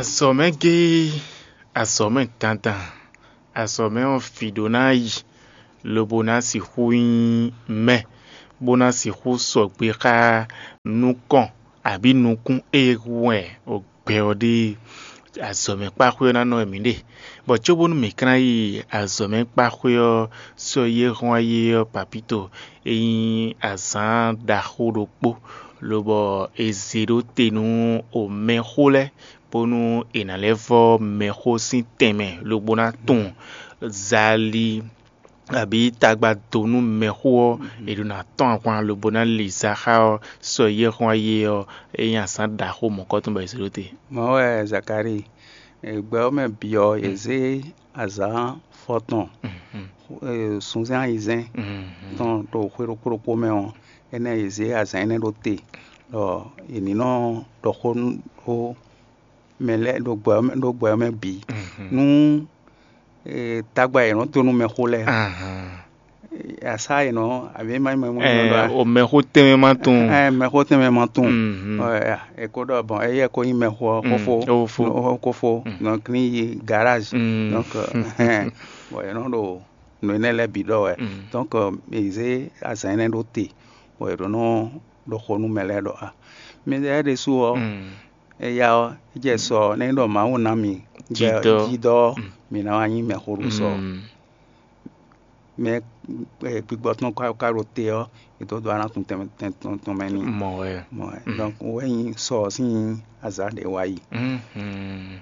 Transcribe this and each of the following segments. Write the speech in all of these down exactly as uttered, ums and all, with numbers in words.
Azɔ̌mɛ géé, azɔ̌mɛ dandan, azɔ̌mɛ ɔ́, vǐ ɖó ná yi, lobo ná sixú nyí mɛ, bó ná sixú sɔgbe xá nukɔn abǐ nukún e wɛ gbɛ ɔ́ ɖe. Azɔ̌mɛ kpáxwé ɔ́ ná nɔ wɛ mǐ ɖe, bɔ cóbónú mǐ ka ná yi azɔ̌mɛ kpáxwé ɔ́, sɔ́ yi e hɔn wá yi é ɔ́, papíto, é nyí azǎn ɖaxó ɖokpó, lobɔ è zě ɖó te nú omɛxó lɛ́ɛ, bónú è nǎ lɛ́ vɔ́ mɛxó sín tɛnmɛ lobo ná tunwun zali abǐ tagba dó nú mɛxó ɔ́, è ɖo ná tɔ́n ahwan lobo ná li za xá ɔ́, sɔ́ yi e hɔn wá yi é ɔ́, é nyí azǎn ɖaxó mɔ̌kɔtɔn bɔ è zě ɖó te. Mɔ̌ wɛ Zakalíi, e gbɛ ɔ́ mɛ bǐ ɔ́, yě zé azǎn fɔtɔn sunzɛ́n ayizɛ́n tɔn ɖo xwé ɖokpó ɖokpó mɛ ɔ́, énɛ́ yě zé azǎn énɛ́ ɖó te, ɖɔ è ní nɔ ɖɔ xó nú ɖó mɛ lɛ́ɛ ɖo gbɛ ɔ́ mɛ, ɖo gbɛ ɔ́ mɛ bǐ. Nú tagba e è nɔ dó nú mɛxó lɛ́ɛ, asá e nɔ abǐ ma nyí mɛ mɔ Ɛɛ, o mɛxó tɛnmɛ ma tunwun. Ɛɛ, mɛxó tɛnmɛ ma tunwun. Mhm. Ɔ, ya, e ko ɖɔ bɔn, eyi e ko nyí mɛxó ɔ́, Mm, xófó, ó fó. Ó xófó. Mm. Donc ní yi garage. Mm. Donc, ɛhɛn, bon, è nɔ ɖo nǔ énɛ́ lɛ́ɛ bǐ ɖɔ wɛ. Mm. Donc, è zé azǎn énɛ́ ɖó te, bɔ è ɖǒ nɔ ɖo xo nú mɛ lɛ́ɛ ɖɔ a, mi lɛ́ɛ ɖésú ɔ́, Mm. eya ɔ́, é jɛ sɔ ɔ́, nɛ́ ɖɔ Mawu ná mi Jidɔ. Jidɔ ɔ́, Mm. mi ná wá nyí mɛxó ɖo sɔ. Mm. Mɛ e gbigbɔ tɔn ka ka ɖo te ɔ́, è dǒ dó alánkun tɛn tɛn tɔn tɔn mɛ n'i. Mɔ wɛ. Mɔ wɛ. Mm. Donc wɛ nyí sɔ ɔ́ sín azǎn ɖě wá yi. Mhm.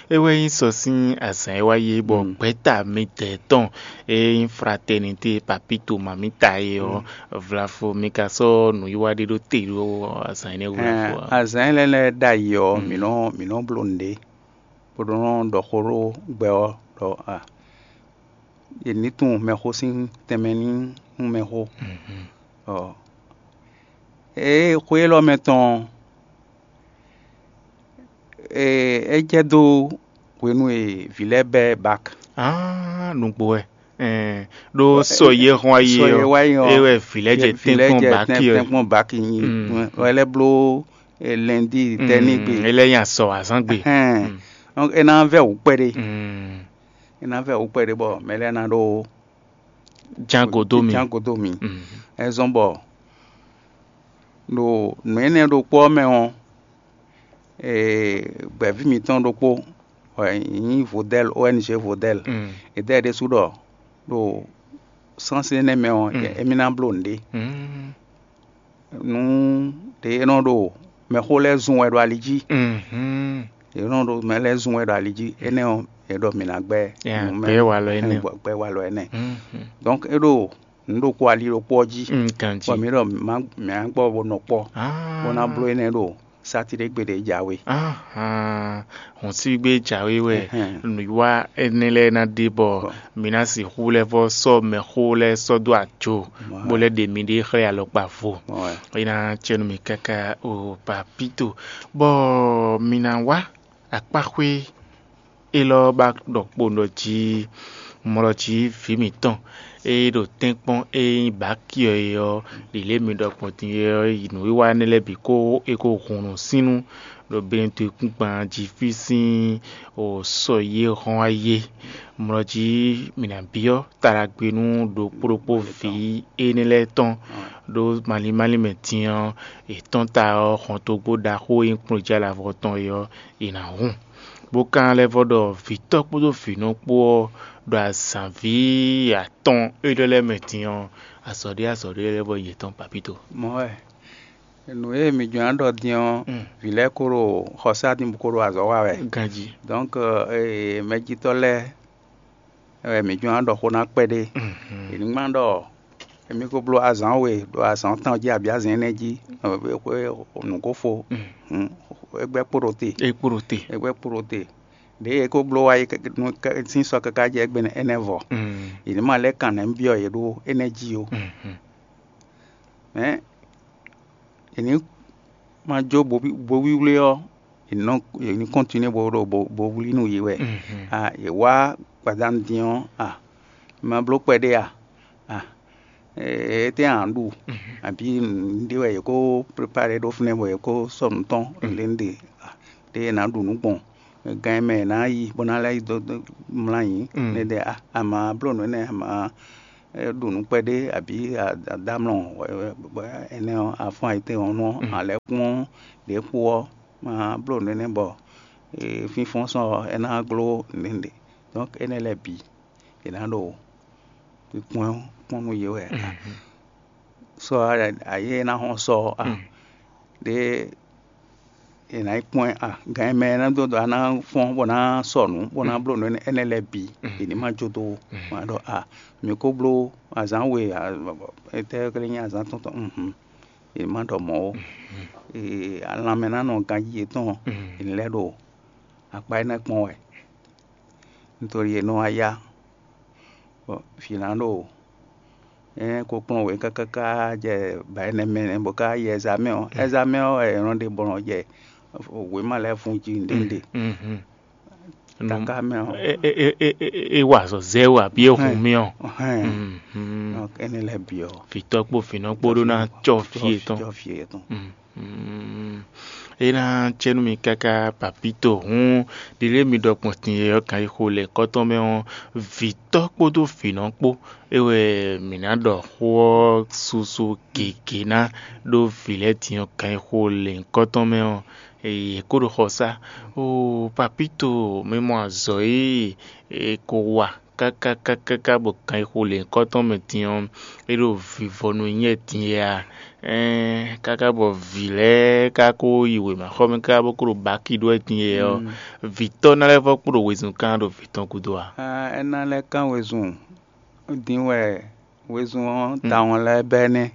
É wɛ nyí sɔ sín azǎn e wá yi bɔ Mm. gbɛ̌ta midɛɛ tɔn e nyí fraternité papito mamita é ɔ́, vlafo mi ka sɔ́ nǔwiwa ɖé ɖó te ɖó azǎn énɛ́ wú vlafo Ɛɛ, ǎ. Azǎn lɛ́ɛ lɛ́ɛ ɖ'ayǐ ɔ́, Mm. mǐ nɔ mǐ nɔ bló nǔɖé, bó ɖó nɔ ɖɔ xó ɖó gbɛ ɔ́ ɖɔ a, è ní tunwun mɛxó sín tɛnmɛ ní nú mɛxó. Mhm. Ɔ, ée xwé élɔ́ mɛ tɔn ɔ́, ee, é jɛ dó hwenu e vǐ lɛ́ɛ bɛ́ bak. Ah, nǔgbó wɛ. Ɛɛ, ɖó sɔ yé hɔn ayi Sɔ yé ɔ́, wá yi ɔ́, é wɛ vǐ lɛ́ɛ jɛ vǐ lɛ́ɛ tɛ́nkpɔ́n jɛ baki tɛ́n- yi. Tɛ́nkpɔ́n baki yi. Mm. Wɛ lɛ́ bló, e, lɛndí tɛ́ ní gbe. Mm, é lɛ́ nya sɔ azán gbe. Ɛhɛn. Mm. Donc, é ná vɛ wǔ kpɛɖé. Mm. É ná vɛ wǔ kpɛɖé bɔ mɛ lɛ́ɛ ná ɖó Ján godó mi. Ján godó mi. Mm. É zɔ́n bɔ ɖo nǔ énɛ́ ɖokpó ɔ́ mɛ ɔ́, ee, gbɛ̌ví mǐtɔn ɖokpó, wɛ nyí Vodɛ́l, O N G Vodɛ́l. Mm. È dɛ́ ɖésú ɖɔ ɖo sánsí énɛ́ mɛ ɔ́, Mm. émí ná bló nǔɖé. Mm. Nú ɖě é nɔ ɖo mɛxó lɛ́ɛ zun wɛ ɖo ali jí. Mhm. È nɔ ɖo mɛ lɛ́ɛ zun wɛ ɖo ali jí. Énɛ́ ɔ́, è ɖɔ mǐ ná gbɛ́ Ya, nǔ mɛ- gbɛ́ walɔ énɛ́ ɔ. Gbɛ́ walɔ énɛ́. Mhm. Donc é ɖo nǔ ɖokpó ali ɖokpó ɔ́ jí. Mm, ganjí. Bɔ mǐ ɖɔ mǐ má mǐ má gbɔ bó nɔ kpɔ́, Ah. bó ná bló énɛ́ ɖo sátidé gbe ɖě jǎwe. Ahan, hɔn sígbé jǎwe wɛ Ɛhɛn. nǔwiwa énɛ́ lɛ́ɛ ná ɖe bɔ Bɔ. mǐ ná sixú lɛ́ vɔ́ sɔ́ mɛxó lɛ́ɛ sɔ́ dó ajo, Mɔ. bó lɛ́ ɖe miɖée xlɛ́ alɔkpa vo. Mɔ wɛ. É ná cɛ nú mì káká o papíto, bɔ mǐ ná wá akpáxwé élɔ́ ba ɖɔ kpo ɖɔ jí mlɔ jí vǐ mǐtɔn e ɖo tɛ́nkpɔ́n e nyí bǎki ɔ́ é ɔ́, ɖi lě mi ɖɔ gbɔn din é ɔ́, yi nǔwiwa énɛ́ lɛ́ɛ bǐ kó é kó hun nǔsínnú ɖo Benɛtɔ́kúngban jí fí sín o sɔ yi e hɔn wá yi é. Mlɔ jí mǐ ná byɔ́ taɖagbe nú ɖokpó ɖokpó vǐ énɛ́ lɛ́ɛ tɔn ɖó malín málín mɛ din ɔ́, yětɔn ta ɔ́, hɔntogbó ɖaxó e nyí kplɔ́njí alavɔ tɔn é ɔ́, è nǎ hun, bó ka lɛ́ vɔ́ ɖɔ vǐtɔ́ kpódó vǐnɔ kpó ɔ́ ɖo azǎnví atɔn élɔ́ lɛ́ɛ mɛ din ɔ́, azɔ̌ ɖé azɔ̌ ɖé lɛ́ vɔ́ nyí yětɔn papíto. Mɔ̌ wɛ, nǔ e mǐ jló ná ɖɔ din ɔ́, Mm. vǐ lɛ́ɛ ko ɖo xɔsá din bó ko ɖo azɔ̌ wa wɛ. Ganjí. Donc, ee, mɛjitɔ́ lɛ́ɛ wɛ mǐ jló ná ɖɔ xó ná kpɛɖé. Mhm. È ní ma ɖɔ émí ko bló azǎn we ɖo azǎn tɔn jí abǐ azǎn énɛ́ jí, xwé nǔ ko fo, Mm. hun, é gbɛ́ kpo ɖo te. É kpo ɖo te. É gbɛ́ kpo ɖo te. Ɖěe é ko bló wá yi kɛ- nú kɛ- sín sɔ káká jɛ égbé énɛ́ vɔ. Mm. È ní ma lɛ́ kan nɛ̌ byɔ́ yě ɖó énɛ́ jí ó. Mhm. Mɛ è ní ma jó bo bo wíwlé ɔ́, è nɔ è ní kɔntinué bo ɖo bo bo wlí nú yě wɛ. Mhm. A yě wá gbadanu din ɔ́, a ma bló kpɛɖé a? A étɛ́ a nǎ ɖu? Mhm. Abǐ nǔɖé wɛ yě kó prepare ɖó fínɛ́ bɔ yě kó sɔ́ nǔ tɔn Mhm. lě ɖe a, ɖé è nǎ ɖu nǔ gbɔn Gan e mɛ è nǎ yi bó ná lɛ́ yi dó mlá nyǐ, ne ɖe a ma bló nǔ énɛ́, a ma ɖu nǔ kpɛɖé abǐ adamlɔn, énɛ́ ɔ́, a fɔ́n ayǐtéhɔ̌nnu ɔ́, a lɛ́ kpɔ́n ɖě kpó ɔ́, ma bló nǔ énɛ́ bɔ fínfɔ́n sɔ́ ɔ́, é ná gló nǔɖé. Donc énɛ́ lɛ́ɛ bǐ è nǎ ɖo kpɔ́n kpɔ́n nú yě wɛ. Sɔ ayé e ná hɔn sɔ ɔ́, a ɖě è nǎ yi kpɔ́n ɛ a gan e mɛ ná dó dó a ná fɔ́n bó ná sɔ nǔ bó ná bló nǔ énɛ́ lɛ́ɛ bǐ, è ní ma jó dó ó. Ma ɖɔ a mǐ ko bló azǎn we, étɛ́ ká lɛ́ nyí azǎn tɔn tɔn? È má ɖɔ mɔ̌ ó. Lanmɛ ná nɔ ganjí yětɔn, è ní lɛ́ ɖo akpá énɛ́ kpɔ́n wɛ. Nítorí è nɔ wá yá bɔ vǐ ná ɖo énɛ́ ko kplɔ́n wě káká jɛ ba énɛ́ mɛ bɔ ká yi ɛzamɛ ɔ́, ɛzamɛ ɔ́ wɛ è nɔ ɖe bɔ nɔ jɛ wěma lɛ́ɛ fun jí nǔɖé nǔɖé. Taká mɛ ɔ́, é wa azɔ̌ zɛ wú abǐ é hun mì ɔ́. Énɛ́ lɛ́ɛ bǐ ɔ́, vǐtɔ́ kpó vǐnɔ kpó ɖó ná cɔ́ fí yětɔn. Cɔ́ fí yětɔn. É ná cɛ nú mi káká papito hǔn ɖiɖe mi ɖɔ gbɔn tin e ɔ́ kan yi xo lɛ kɔ́tɔn mɛ ɔ́, vǐtɔ́ kpódó vǐnɔ kpó é wɛ mǐ ná ɖɔ xó ɔ́ susu gěgé ná ɖó vǐ lɛ́ɛ din ɔ́ kan yi xo lɛ nyǐkɔ tɔn mɛ ɔ́, yě kó ɖo xɔsá. Oo, papito, mi mɔ azɔ̌ e è ko wa káká káká bɔ kan yi xo lě nyǐkɔ tɔn mɛ din ɔ́, é ɖo vivɔ nú nyɛ din wɛ a? Ɛɛn, káká bɔ vǐ lɛ́ɛ ka ko yi wěmaxɔmɛ káká bó ko ɖo baki ɖó wɛ din wɛ ɔ́, vǐtɔ́ ná lɛ́ vɔ́ kpo ɖo wezun kán ɖo vǐ tɔn gúdo a? É ná lɛ́ kán wezun dín wɛ wezun ɔ́ tawun lɛ́ɛ bɛ́ nɛ́.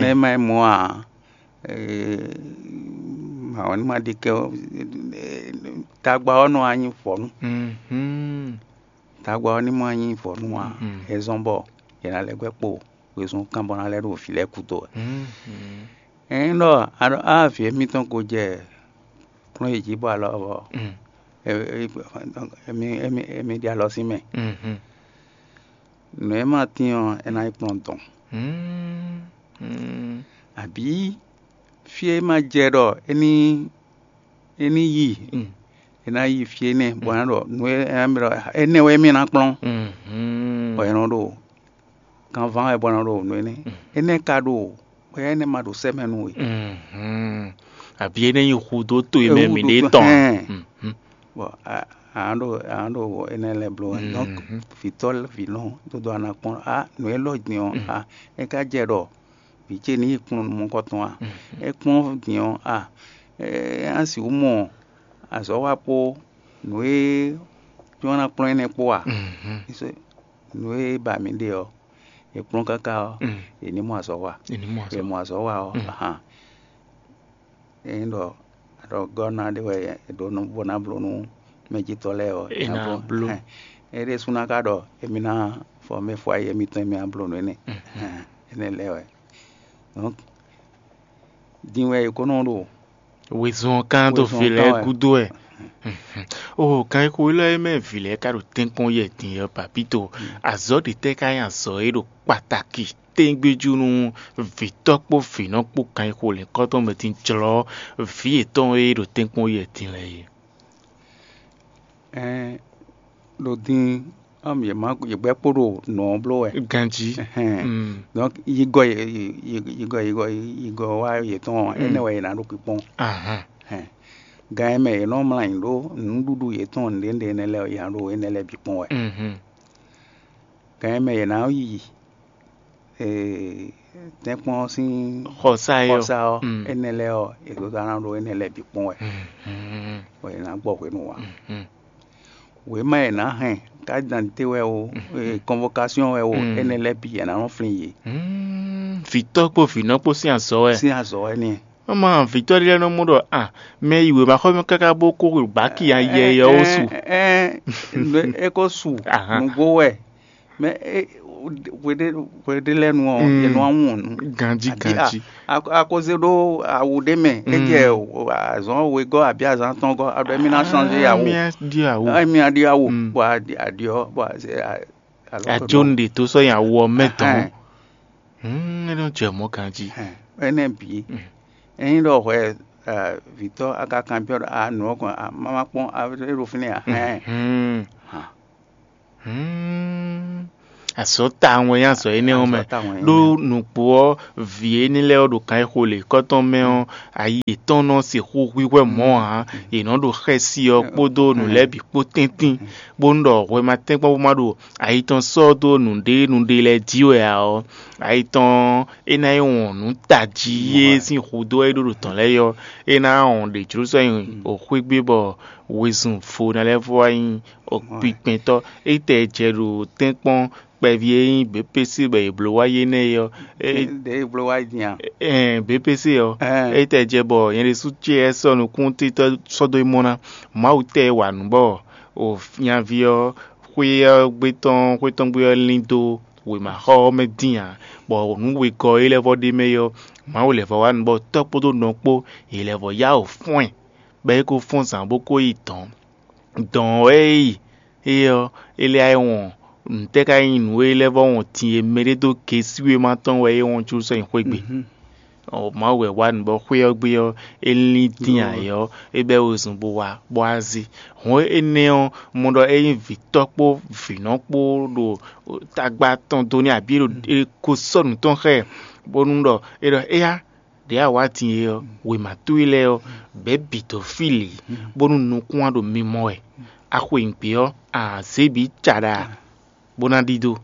Nɛ́ má nyí mɔ̌ ǎ, mawɔ ní ma ɖi kɛ tagba ɔ́ nɔ wá nyí vɔ̌nu. Tagba ɔ́ ní ma nyí vɔ̌nu ǎ, é zɔ́n bɔ è nǎ lɛ́ gbɛ́ kpo wezun kán bɔ ná lɛ́ ɖo vǐ lɛ́ɛ gúdo wɛ. Ényí ɖɔ a ɖɔ á vǐ émítɔn ko jɛ kplɔ́n yě jí bɔ alɔ ɔ́, émí ɖi alɔ sín mɛ. Nǔ e ma tín ɔ́, é ná yi kplɔ́n dɔn. Abǐ fí e ma jɛ ɖɔ é ní é ní yi, é ná yi fí énɛ́ bɔ é ná ɖɔ nǔ e é ná mì ɖɔ énɛ́ wɛ mì ná kplɔ́n, bɔ é nɔ ɖo kanván wɛ bɔ é nɔ ɖo nǔ énɛ́. Énɛ́ ka ɖo bɔ énɛ́ ma ɖo sɛ́ mɛ nú we. Abǐ é nɛ́ nyí hudó to e mɛ mǐ ɖe tɔn. Bɔ a nǎ ɖo a nǎ ɖo énɛ́ lɛ́ɛ bló wɛ. Donc vǐtɔ́ vǐnɔ dodó a nǎ kpɔ́n a nǔ élɔ́ din ɔ́ a é ka jɛ ɖɔ vǐ ce ní yi kplɔ́n nú mɔ̌kɔtɔn a? É kplɔ́n din ɔ́ a? É ná sixú mɔ azɔ̌ wa kpó nǔ e jɔ́n ná kplɔ́n énɛ́ kpó a? Nǔ e ba mǐ ɖe ɔ́, è kplɔ́n káká ɔ́, è ní mɔ azɔ̌ wa. È mɔ azɔ̌ wa ɔ́, ahan. Ényí ɖɔ a ɖɔ gɔ́ ná ɖé wɛ è ɖǒ nú bó ná bló nú mɛjitɔ́ lɛ́ɛ ɔ́, è nǎ bló. É ɖésú ná ka ɖɔ émí ná fɔ mɛ fɔ ayé émítɔn émí ná bló nú énɛ́. Énɛ́ lɛ́ɛ wɛ. Donc din wɛ è ko nɔ ɖo wezun ɔ́ kán dó vǐ lɛ́ɛ gúdo wɛ. O kan e xo élɔ́ e mɛ vǐ lɛ́ɛ ka ɖo tɛ́nkpɔ́n yɛ din ɔ́, papito, azɔ̌ ɖě tɛ́ ka nyí azɔ̌ e ɖo kpatakí tɛ́ngbéjú nú vǐtɔ́ kpó vǐnɔ kpó kan e xo lɛ̌nkɔ́tɔn mɛ din jlɔ́ vǐ yětɔn e ɖo tɛ́nkpɔ́n yɛ din lɛ́ɛ é? Ɛn ɖo din ɔ́, yě má yě gbɛ́ kpo ɖo nǔ ɔ́ bló wɛ. Ganjí. Donc yigɔ yigɔ yigɔ yigɔ wá yětɔn ɔ́, énɛ́ wɛ yě ná ɖo kpikpɔ́n. Gan e mɛ yě nɔ mlá nyi ɖó nǔɖuɖu yětɔn nǔɖé nǔɖé énɛ́ lɛ́ɛ yě ná ɖo énɛ́ lɛ́ɛ bǐ kpɔ́n wɛ. Gan e mɛ yě ná yi tɛ́nkpɔ́n ɔ́ sín xɔsá é ɔ́, xɔsá ɔ́, énɛ́ lɛ́ɛ ɔ́, è dó ná ɖó énɛ́ lɛ́ɛ bǐ kpɔ́n wɛ, bɔ è nǎ gbɔ hwenu ǎ. Wěma e è nǎ hɛn, carte d'identité wɛ o, convocation wɛ o, énɛ́ lɛ́ɛ bǐ è nǎ nɔ flín yě. Vǐtɔ́ kpó vǐnɔ kpó sín azɔ̌ wɛ. Sín azɔ̌ wɛ n'i. Ɔ́ ma vǐtɔ́ ɖé lɛ́ɛ nɔ mɔ ɖɔ a mɛ yi wěmaxɔmɛ káká bó kó baki ayɛ yɛ ó su. É ko su nǔgbó wɛ. Mɛ hweɖé lɛ́ɛ nu ɔ́, è nɔ wá wɔn nǔ. Ganjí ganjí. Akoze ɖó awu ɖé mɛ, é jɛ azɔn wegɔ́ abǐ azan tɔngɔ́, a ɖɔ émí ná changé awu. Émí ná ɖi awu, bɔ a ɖi ɔ́, bɔ a jó nu ɖe tó sɔ́ nyi awu ɔ́ mɛ tɔn. É nɔ jɛ mɔ̌ ganjí. Énɛ́ bǐ, ényí ɖɔ hwɛ Vǐtɔ́ a ka kanbyɔ́ ɖɔ a nǔ ɔ́ kɔn a má má kpɔ́n a é ɖo fínɛ́ ǎ. Hɛn. Hmm. Azɔ̌ tawun wɛ nyí azɔ̌ énɛ́ ɔ́ mɛ. Azɔ̌ tawun wɛ nyí ɖó nǔgbó ɔ́, vǐ énɛ́ lɛ́ɛ ɔ́ ɖo kan e xo lě kɔ́tɔn mɛ ɔ́, ayi yětɔn nɔ sixú hwíhwɛ́ mɔ̌ ǎ. Yě nɔ ɖo xɛsi ɔ́ kpódó nǔ lɛ́ɛ bǐ kpó tɛ́ntin, bónú ɖɔ hwɛmatɛ́nkpɔ́n bó má ɖo ayi tɔn sɔ́ dó nǔɖé nǔɖé lɛ́ɛ jí wɛ ǎ ɔ́, ayi tɔn ɔ́, é ná yi wɔn nǔ tají e sín hudó wɛ é ɖó ɖo tɔ̌n lɛ́ɛ ɔ́, é ná wɔn ɖě jló sɔ́ nyi xwégbé bɔ wezun vo ná lɛ́ vɔ wá nyí kpinkpɛntɔ́. Étɛ́ jɛ ɖo tɛ́nkpɔ́n kpɛví e nyí běpése bɔ è blǒ wá yi énɛ́ é ɔ́, é Ɖě e bló wá yi din a? Ɛn běpése ɔ́, Ɛn. Étɛ́ jɛ bɔ nyɛ ɖésú ce wɛ sɔ́ nukúntíntɔ́ sɔ́ dó mɔ ná. Mawu tɛ e wa nǔ bɔ o nyaví ɔ́ xwé ɔ́ gbé tɔn xwé tɔn gbé ɔ́ lín dó wěmaxɔ ɔ́ mɛ dín ǎ, bɔ nǔ wegɔ́ e lɛ́ vɔ ɖ'é mɛ é ɔ́, Mawu lɛ́ vɔ wá nǔ bɔ tɔ́ kpódó nɔ kpó yě lɛ́ vɔ yá wǔ fɔ́n ɛ, bɔ é ko fɔ́n zǎn bó ko yi dɔ̌n. Dɔ̌n ɔ́ é yi é ɔ́, é lɛ́ wá yi wɔn nǔtɛ́ ka nyí nǔ e lɛ́ vɔ wɔn din e mɛɖé dó gesí wéma tɔn wɛ é wɔn jló sɔ́ nyi xwé gbe. Mawu wɛ wá nǔ bɔ xwé ɔ́ gbe ɔ́, é lín dín ayǐ ɔ́, é bɛ́ wezun bó wá bó wá zé. Hɔn énɛ́ ɔ́, mɔ ɖɔ é nyí vǐtɔ́ kpó vǐnɔ kpó ɖo tagba tɔn dó n'i abǐ é ɖo é ko sɔ́ nǔ tɔn xá ɛ, bónú ɖɔ é ɖɔ éyá ɖě a wǎ din e ɔ́, wěma towe lɛ́ɛ ɔ́, bɛ̌ bǐ dó fí lě, bónú nukún a ɖo mimɔ wɛ. A xwe nyǐgbe ɔ́, a zě bǐ caɖa, bó ná ɖidó.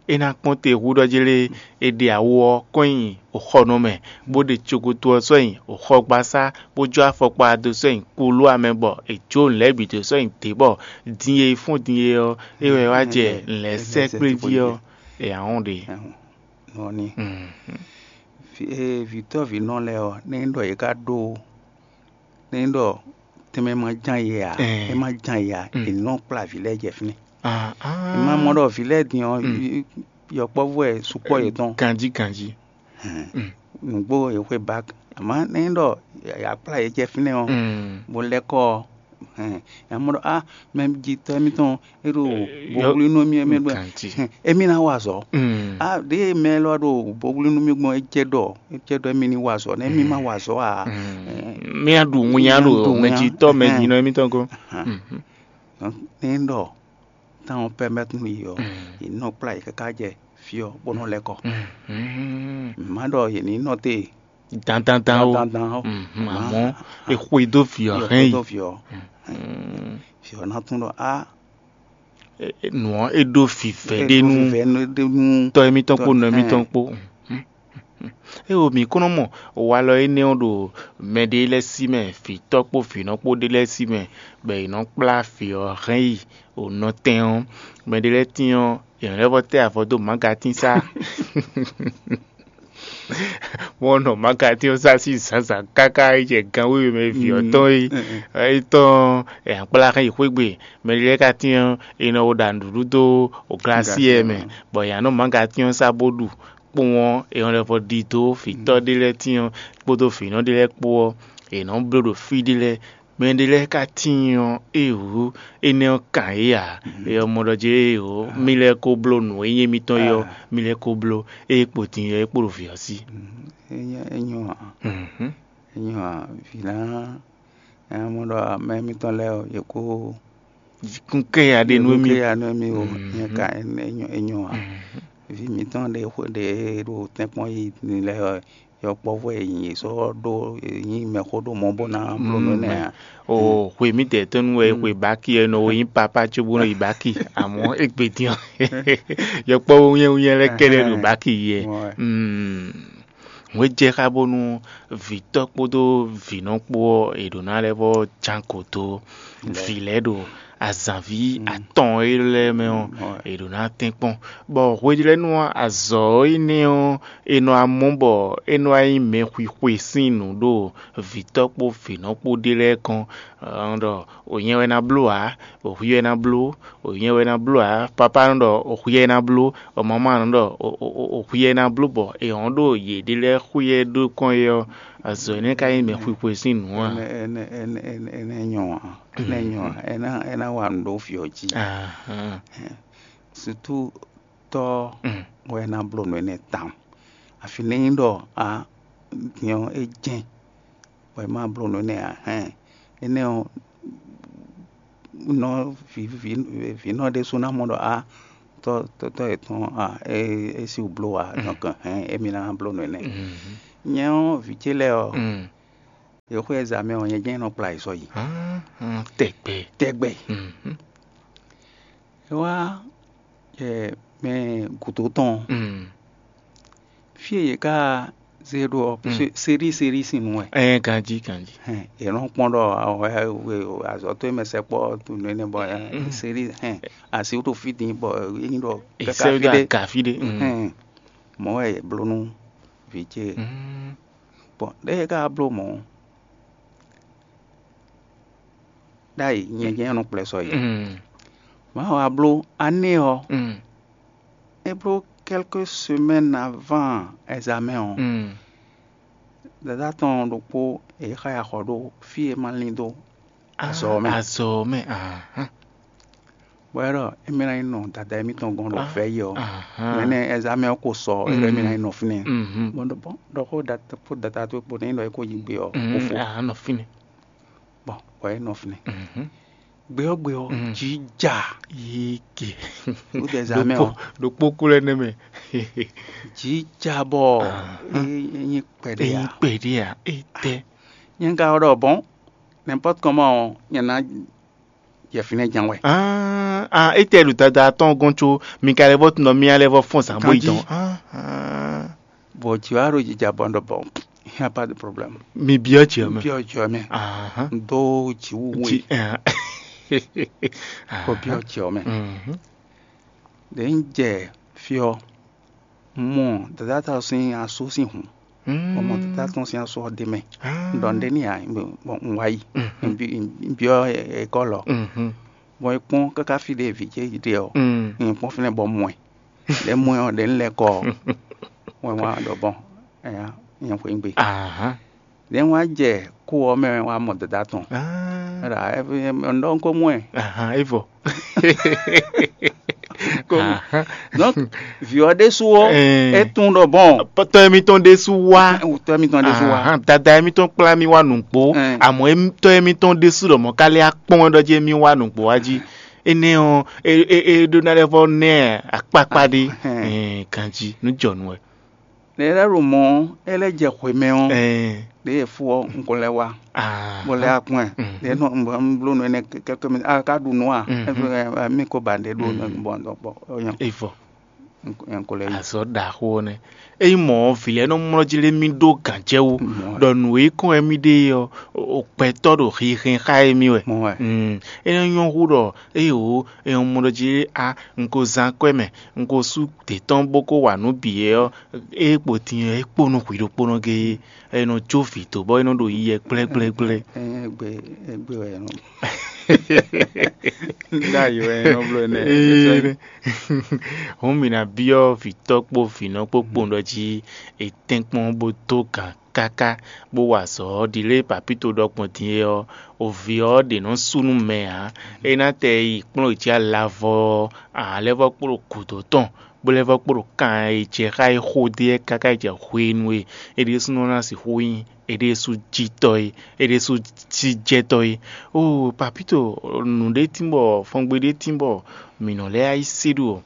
É ná kpɔ́n te hú ɖɔ jlé é ɖe awo ɔ́ kɔn nyi xɔnɔ mɛ, bó ɖe cokoto ɔ́ sɔ́ nyi xɔgbasá, bó jó afɔkpa ɔ́ dó sɔ́ nyi kulú amɛ bɔ è jó nǔ lɛ́ɛ bǐ dó sɔ́ nyi dě bɔ din e fɔ́n din e ɔ́, é wɛ wá jɛ nǔ lɛ́ɛ sɛ́kplé jí ɔ́, è nǎ wɔn ɖe. Nɔ ní. Vǐ- ee, vǐtɔ́ vǐnɔ lɛ́ɛ ɔ́, nɛ́ nyí ɖɔ yě ká ɖó, nɛ́ nyí ɖɔ tɛnmɛ ma ján yě ǎ, Ɛɛ. É ma ján yě ǎ, Mm. È nɔ kplá vǐ lɛ́ɛ jɛ fínɛ́. Ah, ah. È ma mɔ ɖɔ vǐ lɛ́ɛ din ɔ́, Mm. yɔkpɔ́vú wɛ sukpɔ́ yětɔn. Ganjí ganjí. Hɛn. Mm. Nǔgbó yě xwe bak, àmọ́ nɛ́ nyí ɖɔ yě kplá yě jɛ fínɛ́ ɔ́, Mm. Bó lɛ́ kɔ ɔ́, hɛn, yě mɔ ɖɔ á, mɛ jitɔ́ émítɔn é ɖo boblínú émí mɛ ɖɔ Ganjí. Émí ná wa azɔ̌. Mm. Á ɖěe mɛ élɔ́ ɖo boblínú mì gbɔn é jɛ ɖɔ é jɛ ɖɔ émí ní wa azɔ̌, nɛ́ émí ma wa azɔ̌ ǎ. Mm. Mía ɖu ŋunya ɖo mɛ jitɔ́ mɛ jinɔ émítɔn gɔ́n. Nɛ́ ɖɔ táwọn pɛ́mɛ́tnu yi ɔ́, yě nɔ kplá yě káká jɛ fí ɔ́ bó nɔ lɛ́ kɔ. Má ɖɔ yě ní nɔ te dandandan o. Dandandan o. Mhm, àmọ́ é xwedó vǐ ɔ́ hɛn yi. Vǐ ɔ́ ná tún ɖɔ á, nǔ ɔ́ é ɖó vǐvɛ́ ɖé nú tɔ́ émítɔn kpó nɔ émítɔn kpó. É o mǐ kún nɔ mɔ walɔ énɛ́ ɔ́ ɖo mɛɖé lɛ́ɛ sí mɛ, vǐtɔ́ kpó vǐnɔ kpó ɖé lɛ́ɛ sí mɛ, bɔ è nɔ kplá vǐ ɔ́ hɛn yi o nɔtɛn ɔ́. Mɛɖé lɛ́ɛ tín ɔ́, è nɔ lɛ́ vɔ tɛ́ avɔ dó mǎgatín sá. Mɔ nɔ mǎgatín ɔ́ sá sín zǎnzǎn káká yi jɛ gan wéwe mɛ vǐ ɔ́ tɔn yi. É tɔn ɔ́, è nǎ kplá hɛn yi xwé gbe. Mɛɖé lɛ́ɛ ka tín ɔ́, è nɔ wo ɖa nǔɖuɖu dó glasí ɛ mɛ, bɔ è nǎ nɔ mǎgatín ɔ́ sá bó ɖu. Kpowun ɔ́, è nɔ lɛ́ vɔ ɖi dó vǐtɔ́ ɖé lɛ́ɛ tín ɔ́ kpódó vǐnɔ ɖé lɛ́ɛ kpó ɔ́, è nɔ bló ɖo fí ɖé lɛ́ɛ. Mɛɖé lɛ́ɛ ka tíin ɔ́, éeǒ, énɛ́ ɔ́ kan yě ǎ. É ɔ́ mɔ ɖɔ jɛ́n éeǒ, mì lɛ́ ko bló nǔ e nyí émítɔn é ɔ́, mì lɛ́ ko bló, ée kpo din ɔ́, é kpo ɖo vǐ ɔ́ sí. É nyɔ́ ǎ. É nyɔ́ ǎ. Vǐ ná nya mɔ ɖɔ mɛ émítɔn lɛ́ɛ ɔ́, yě kó kún kɛ ya ɖe nú émí. Kɛ ya nú émí o. Nyɛ ka é nyɔ́ ǎ. Vǐ mǐtɔn ɖe xwe ɖe e ɖo tɛ́nkpɔ́n yi lɛ́ɛ ɔ́, yɔkpɔ́vú e nyi yě sɔ́ ɖó, yě nyí mɛxó ɖo mɔ̌ bó ná bló nǔ énɛ́ ǎ. O xwe mǐdɛɛ tɔn nu wɛ xwe baki ɛ nɔ wo nyí papa cóbó nɔ yi baki, amɔ̌ égbé dín ɔ́, yɔkpɔ́vú wúnyɛ́wúnyɛ́ lɛ́ɛ kɛ́ɖɛ́ ɖo baki yi ɛ. Hwě jɛ xá bónú vǐtɔ́ kpódó vǐnɔ kpó ɔ́, è ɖǒ ná lɛ́ vɔ́ ján gǒ dó vǐ lɛ́ɛ ɖo azǎnví atɔn élɔ́ lɛ́ɛ mɛ ɔ́, è ɖǒ ná tɛ́nkpɔ́n. Bɔ hweɖélɛ́nú ɔ́, azɔ̌ énɛ́ ɔ́, è nɔ wá mɔ bɔ é nɔ wá nyí mɛxwixwe sín nǔ ɖo vǐtɔ́ kpó vǐnɔ kpó ɖé lɛ́ɛ kɔn. Ɔ́ ɖɔ o nyɛ wɛ ná bló ǎ, o hwi wɛ ná bló, o nyɛ wɛ ná bló ǎ. Papá nɔ ɖɔ o hwi wɛ ná bló, o mamá nɔ ɖɔ o hwi wɛ ná bló, bɔ è hɔn ɖo yěɖée lɛ́ɛ xwíyɛ ɖó kɔn é ɔ́, azɔ̌ énɛ́ ka nyí mɛ xwixwe sín nǔ ǎ. Énɛ́ énɛ́ énɛ́ énɛ́ nyɔ́ ǎ. Énɛ́ nyɔ́ ǎ. É ná é ná wa nǔ ɖó vǐ ɔ́ jí. Ahán. Sutu tɔ́ wɛ ná bló nǔ énɛ́ tawun. Afi nɛ́ nyí ɖɔ a din ɔ́ é jɛ́n bɔ è ma bló nǔ énɛ́ ǎ. Hɛn, énɛ́ ɔ́, nɔ vǐ vǐ vǐnɔ ɖésú ná mɔ ɖɔ a tɔ́ tɔ́ tɔ́ yětɔn a é é sí wǔ bló ǎ. Donc hɛn, émí ná bló nǔ énɛ́. Nyɛ ɔ́, vǐ ce lɛ́ɛ ɔ́, yě xwé ɛzǎmɛ ɔ́, nyɛ jɛ́n nɔ kplá yě sɔ́ yi. Tɛgbɛ. Tɛgbɛ. É wá mɛ gǔdo tɔn, fí e yě ká zé ɖó ɔ́, sérí sérí sín nǔ wɛ. Ɛɛ, ganjí ganjí. Hɛn, yě nɔ kpɔ́n ɖɔ azɔ̌ tó e mɛ sɛkpɔ́ nú énɛ́ bɔ sérí hɛn, asi wútu fí din bɔ é nyí ɖɔ káká fí ɖé. Aga fí ɖé. Hɛn, mɔ̌ wɛ yě bló nú vǐ ce. Bɔn ɖěe é ka wá bló mɔ̌, ɖ'ayǐ nyɛ jɛ́n nɔ kplɛ́ sɔ yi. Mawu wá bló ané ɔ́, é bló quelques semaines avant examen ɔ́, dada tɔn ɖokpó e xa yi axɔ ɖo fí e ma lín dó azɔ̌ ɔ́ mɛ. Azɔ̌ ɔ́ mɛ. Bɔ é ɖɔ émí ná yi nɔ dada émítɔn gɔ́n ɖo vɛ̌ yi ɔ́, mɛ nɛ́ examen ɔ́ ko sɔ, é ɖɔ émí ná yi nɔ fínɛ́. Bɔn ɖɔ bɔn ɖɔ xó dada towe kpo nɛ́ é ɖɔ é ko yi gbe ɔ́, kó fo. Anɔ fínɛ́. Bɔn bɔ é nɔ fínɛ́. Gbe ɔ́ gbe ɔ́, jǐ ja. Yéke. Wútu examen ɔ́, ɖokpó kú lɛ́ nɛ́ mɛ. Jǐ ja bɔ é nyí kpɛɖé. Èyí ǎ. Kpɛɖé ǎ. Ètɛ. Nyɛ ka ɖɔ bɔn, n'importe comment ɔ́, nyɛ ná jɛ fínɛ́ ján wɛ. Ah, ah, étɛ́ ɖo dada tɔn gɔ́n có Mikaɛli vɔ tunɔ mía lɛ́ vɔ fɔ́n zǎn bó yi tɔn. Ah, ah. Bɔ jǐ wá ɖo jija bɔ ɖɔ bɔ, il n'y a pas de problème. Mi byɔ́ jǐ ɔ́ mɛ. Byɔ́ jǐ ɔ́ mɛ. Ahán. Dó jǐ wú we. Jǐ, ah. Kó byɔ́ jǐ ɔ́ mɛ. Mhm. Ɖě un jɛ fí ɔ́, un mɔ dada tɔn sín asú sín hǔn. Bɔ mɔ dada tɔn sín asú ɔ́ ɖ'é mɛ. Un ɖɔ nǔɖé n'i ǎ, bɔ un wá yi. Un byɔ́ ekɔ́lɔ. Bɔ é kpɔ́n káká fí ɖé vǐ ce ɖe ɔ́, un kpɔ́n fínɛ́ bɔ mɔ ɛ. Ɖě mɔ ɛ ɔ́, ɖě un lɛ́ kɔ ɔ́, wɛn wá ɖɔ bɔn, ɛya, nyɛ xweyígbe. Ɖě un wá jɛ kú ɔ́ mɛ wá mɔ dada tɔn. Ɖɔ un ɖɔ un ko mɔ ɛ. Ahan, é vɔ. Donc, vǐ ɔ́ ɖésú ɔ́, é tunwun ɖɔ bɔn, tɔ́ émítɔn ɖésú wá. Tɔ́ émítɔn ɖésú wá. Ahan, dada émítɔn kplá mì wá nǔgbó. Amɔ̌ tɔ́ émítɔn ɖésú ɖɔ mɔ̌ ka lɛ́ akpɔ́n wɛ ɖɔ jí émí wá nǔgbó wá jí. Énɛ́ ɔ́, é é é ɖó ná lɛ́ vɔ́ ná ɛ akpákpá ɖé. Ɛn, ganjí nú jɔnu wɛ. Ɖě lɛ́ ɖo mɔ̌ ɔ́, é lɛ́ jɛ xwě mɛ ɔ́, ɖěe fó ɔ́, un ko lɛ́ wá, bó lɛ́ wá kpɔ́n ɛ. Ɖě nɔ un bló nǔ énɛ́ kɛ́kɛ́ mɛ, a ka ɖu nǔ a? Mí ko ba ɖě ɖó bɔ bɔ é nyɔ. Evɔ. Un ko lɛ́ yi. Azɔ̌ ɖaxó ɔ́ nɛ́. Ényí mɔ̌ ɔ́, vǐ lɛ́ɛ nɔ mlɔ́ jí lé mì ɖó gǎn jɛ wú, ɖɔ nǔ e kɔn wɛ mì ɖe é ɔ́, o gbɛtɔ́ ɖo hinhɛn xá émí wɛ. Mɔ̌ wɛ. Mm. É nɔ nyɔ́ hú ɖɔ éyǒ, è nɔ mɔ ɖɔ jí a un ko zán akwɛ́ mɛ, un ko sú dě tɔn bó kó wa nǔ bǐ é ɔ́, é kpo din ɔ́, é kpo nú hwǐ ɖokpónɔ géé, é nɔ jó vǐ dó bɔ é nɔ ɖo yiyi ɛ gblɛ́gblɛ́gblɛ́. Égbé égbé wɛ nɔ. Ɖ'ayǐ wɛ nɔ bló énɛ́. Hǔn mǐ ná byɔ́ vǐtɔ́ kpó vǐnɔ kpó kpowun ɖɔ jí è tɛ́nkpɔ́n bó dó gǎn káká bó wa azɔ̌ ɔ́. Ɖi lě e Papíto ɖɔ gbɔn din é ɔ́, o vǐ ɔ́ ɖě nɔ sú nú mɛ ǎ. É ná tɛ yi kplɔ́n yě jí alavɔ ɔ́, ǎ lɛ́ vɔ́ kpló gǔdo tɔn, bó lɛ́ vɔ́ kpló kan e jɛ xá é xó dó é káká yi jɛ hwenu e é ɖésúnɔ ná sixú nyí é ɖésú jítɔ́ é, é ɖésú cí jɛtɔ́ é. Oo, Papíto, nǔɖé tín bɔ fɔngbe ɖé tín bɔ mǐ nɔ lɛ́ yá yi sí ɖu ɔ́,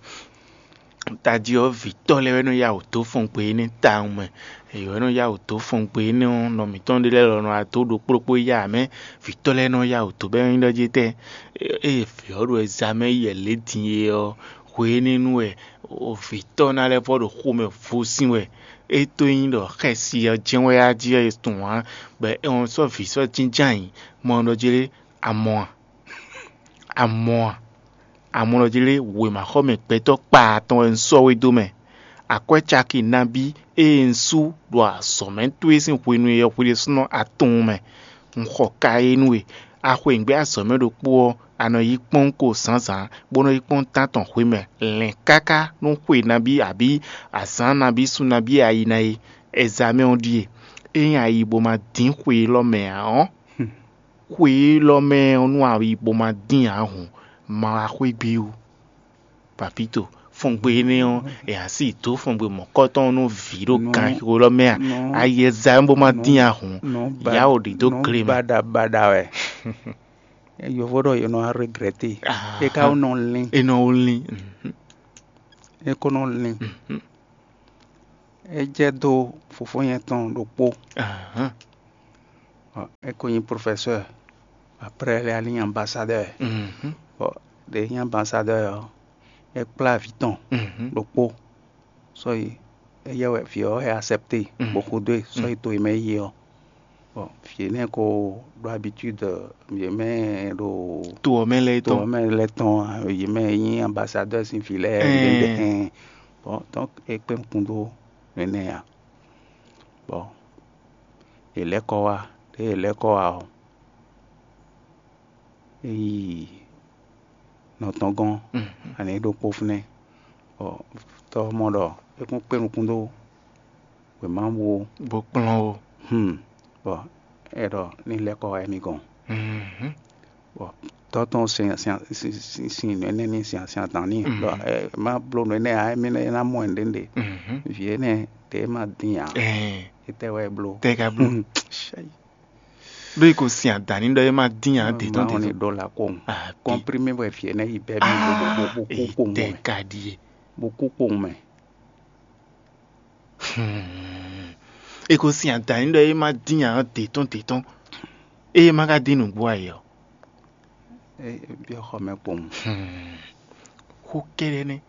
tají ɔ́, vǐtɔ́ lɛ́ɛ wɛ nɔ yá wǔ dó fɔngbe énɛ́ tawun mɛ. Yě wɛ nɔ yá wǔ dó fɔngbe énɛ́ ɔ́, nɔ mǐtɔn ɖé lɛ́ɛ lɔ nɔ adó ɖokpó ɖokpó yá ǎ mɛ. Vǐtɔ́ lɛ́ɛ nɔ yá wǔ dó bɔ é nyí ɖɔ jí tɛ́, ée vǐ ɔ́ ɖo ɛzamɛ yi wɛ lě din é ɔ́, hwe énɛ́ nu wɛ vǐtɔ́ ná lɛ́ vɔ ɖo xomɛ vo sín wɛ. É tó nyí ɖɔ xɛsi ɔ́ jɛ́n wɛ á jí wɛ è tunwun ǎ, bɔ è nɔ sɔ́ vǐ sɔ́ jínjɔ́n ayǐ, mɔ ɖɔ jí lé, a mɔ a? A mɔ a? A mɔ ɖɔ jí lé, wěmaxɔmɛ gbɛtɔ́ kpaa tɔn wɛ un sɔ́ we dó mɛ. Akwɛ́ caki nabí e un sú ɖo azɔ̌mɛ towe sín hwenu e yɔhwi ɖésúnɔ a tunwun mɛ. Un xɔ ka e nú we. A xweyǐgbe azɔ̌mɛ ɖokpó ɔ́, a nɔ yi kpɔ́n ko zǎnzǎn, bó nɔ yi kpɔ́n tántɔn hwemɛ lɛ̌n káká nú xwe nabí abǐ azǎn nabí sun nabí e a yi ná é. Ɛzamɛ ɔ́ ɖíe: ényí a yi bó ma dín xwe élɔ́ mɛ ǎ ɔ́, xwe élɔ́ mɛ ɔ́ nú a yi bó ma dín ǎ hǔn, ma wá xwé gbé ó. Papíto, Fɔngbe énɛ́ ɔ́, è nǎ sí dó fɔngbe mɔ̌kɔtɔn nú vǐ ɖo ganxixo élɔ́ mɛ a? Ayɛza bó má dín ahun, yá ò ɖi dó gle mɛ. Baɖabaɖa wɛ. Yovó ɖɔ yě nɔ regrɛte. É ka nɔ lín. É nɔ lín. É ko nɔ lín. É jɛ dó fofó nyɛ tɔn ɖokpó. É ko nyí profɛsɛ́. Après lɛ ali nyí ambasadɛ́. Bɔ ɖě nyí ambasadɛ́ ɔ́, é kplá vǐ tɔn ɖokpó. Sɔ́yi éyɛ́ wɛ vǐ ɔ́ wɛ acɛ́pté bó xo dó e sɔ́yi to e mɛ é yi ɔ́. Bɔ vǐ énɛ́ ko ɖó abitúd yě mɛ ɖo to ɔ́ mɛ lɛ́ɛ to tɔn. Ɔ́ mɛ lɛ́ɛ tɔn, yě mɛ e nyí ambasadɛ́ sín vǐ lɛ́ɛ. Ɛɛ. Bɔ tɔn é kpé nukún dó nɛnɛ ǎ. Bɔ è lɛ́ kɔ wá, ɖěe è lɛ́ kɔ wá ɔ́, é yi nɔ tɔn gɔ́n, ani é ɖokpó fínɛ́. Bɔ tɔ́ ɔ́ mɔ ɖɔ é kún kpé nukún dó wěma bó kplɔ́n ó. Hmm. Bɔ é ɖɔ ní lɛ́ kɔ wá émí gɔ́n. Bɔ tɔ́ tɔn sin sin sin nǔ énɛ́ ní sin sin adǎn n'i ɖɔ ɛ má bló nǔ énɛ́ ǎ, émí ná mɔ nǔɖé nǔɖé. Vǐ énɛ́ ɖě ma dín ǎ. Étɛ́ wɛ é bló? Tɛ ka bló? Ɖó yi ko sin adǎn n'i ɖɔ é má dín ǎ dě tɔn dě tɔn. Ɖó la kpɔ́n. Kɔ́mprímé wɛ vǐ énɛ́ yi bɛ́ mì bó bó bó kú kpowun mɛ. Tɛ ka ɖíe? Bó kú kpowun mɛ. Hmm. E ko sin adǎn n'i ɖɔ é má dín ǎ dě tɔn dě tɔn. Ée é má ka dín nǔgbó ǎ é ɔ́. É byɔ́ xɔ mɛ kpowun. Hmm. Xó kɛ́ɖɛ́ nɛ́.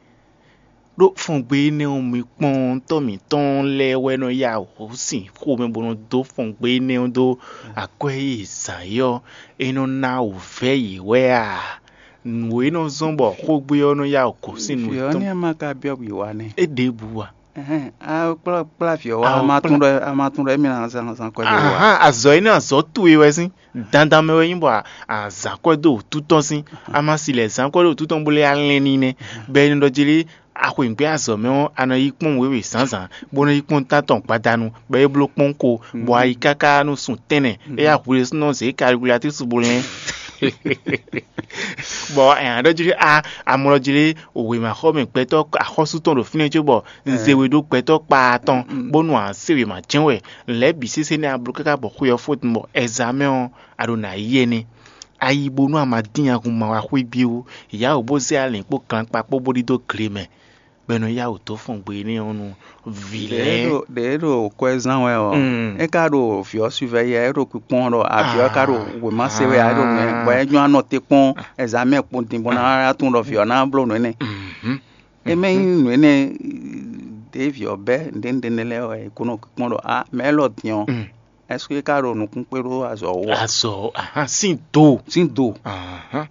Ɖó fɔngbe énɛ́ ɔ́, mi kpɔ́n tɔ́ mǐtɔn lɛ́ɛ wɛ nɔ yá wǔ sin xomɛ bó nɔ dó fɔngbe énɛ́ ɔ́ dó akwɛ́ e è zǎn é ɔ́, é nɔ ná wǔvɛ́ yě wɛ a? Nǔ e nɔ zɔ́n bɔ xógbe ɔ́ nɔ yá wǔ gosín nǔ Vǐ ɔ́ tɔn. Ní ɛ má ka byɔ́ bǐ wá nɛ́. É ɖěbǔ a? Kplá kplá vǐ ɔ́ wá, a ma tunwun ɖɔ a ma tunwun ɖɔ émí ná zán zán kwɛ́ ɖé wá. Ahán, azɔ̌ énɛ́ azɔ̌ towe wɛ sín. Dandan mɛ wɛ nyí bɔ a zǎn kwɛ́ dó wǔtu tɔn sín. A ma si lɛ̌ zǎn kwɛ́ dó wǔtu tɔn bó lɛ́ alɛn n'i nɛ́. Bɔ è nɔ ɖɔ jí lé, a xweyǐgbe azɔ̌ mɛ ɔ́, a nɔ yi kpɔ́n wěwe zǎnzǎn, bó nɔ yi kpɔ́n tántɔn gbadanu, bɔ é bló kpɔ́n ko, bɔ a yi káká nú sun tɛ́nnɛ, é yá hu ɖésúnɔ zě kalikulatúsu bó lɛ́n. Bɔ ɛ ǎ ɖɔ jí lé, a amlɔ jí lé, wěma xɔ mɛ gbɛtɔ́ axɔ́sú tɔn ɖo fínɛ́ cóbɔ un zé we ɖó gbɛtɔ́ kpaa tɔn, bónú a se wěma jɛ́n wɛ. Lɛ̌ bǐ sésé nɛ́ a bló káká bɔ xwe ɔ́ fó din bɔ ɛzamɛ ɔ́, a ɖo nǎ yi ɛnɛ. A yi bónú a ma dín ahun ma wá xwé byɔ́, yǎ wǒ bó zé alǐn kpó gankpa kpó bó ɖidó gle mɛ, bɔ è nɔ yá wǔ dó fɔn gbe énɛ́ ɔ́ nú vǐ lɛ́ɛ. Ɖě ɖo kwɛ́ zán wɛ ɔ́, é ka ɖo vǐ ɔ́ suvɛ́ yɛ, é ɖo kpikpɔ́n ɖɔ avǐ ɔ́ ka ɖo wěma se wɛ ǎ, é ɖo nǔ bɔ é nyɔ́ anɔ te kpɔ́n ɛzamɛ kpɔ́n din bɔ ná tunwun ɖɔ vǐ ɔ́ ná bló nǔ énɛ́. É mɛ nyí nǔ énɛ́ ɖě vǐ ɔ́ bɛ́ nǔɖé nǔɖé nɛ́ lɛ́ɛ wɛ è ko nɔ kpɔ́n ɖɔ a mɛ élɔ́ din ɔ́, ɛseke é ka ɖo nukún kpé ɖó azɔ̌ ó a? Azɔ̌ ahán sín do. Sín do. Ahán.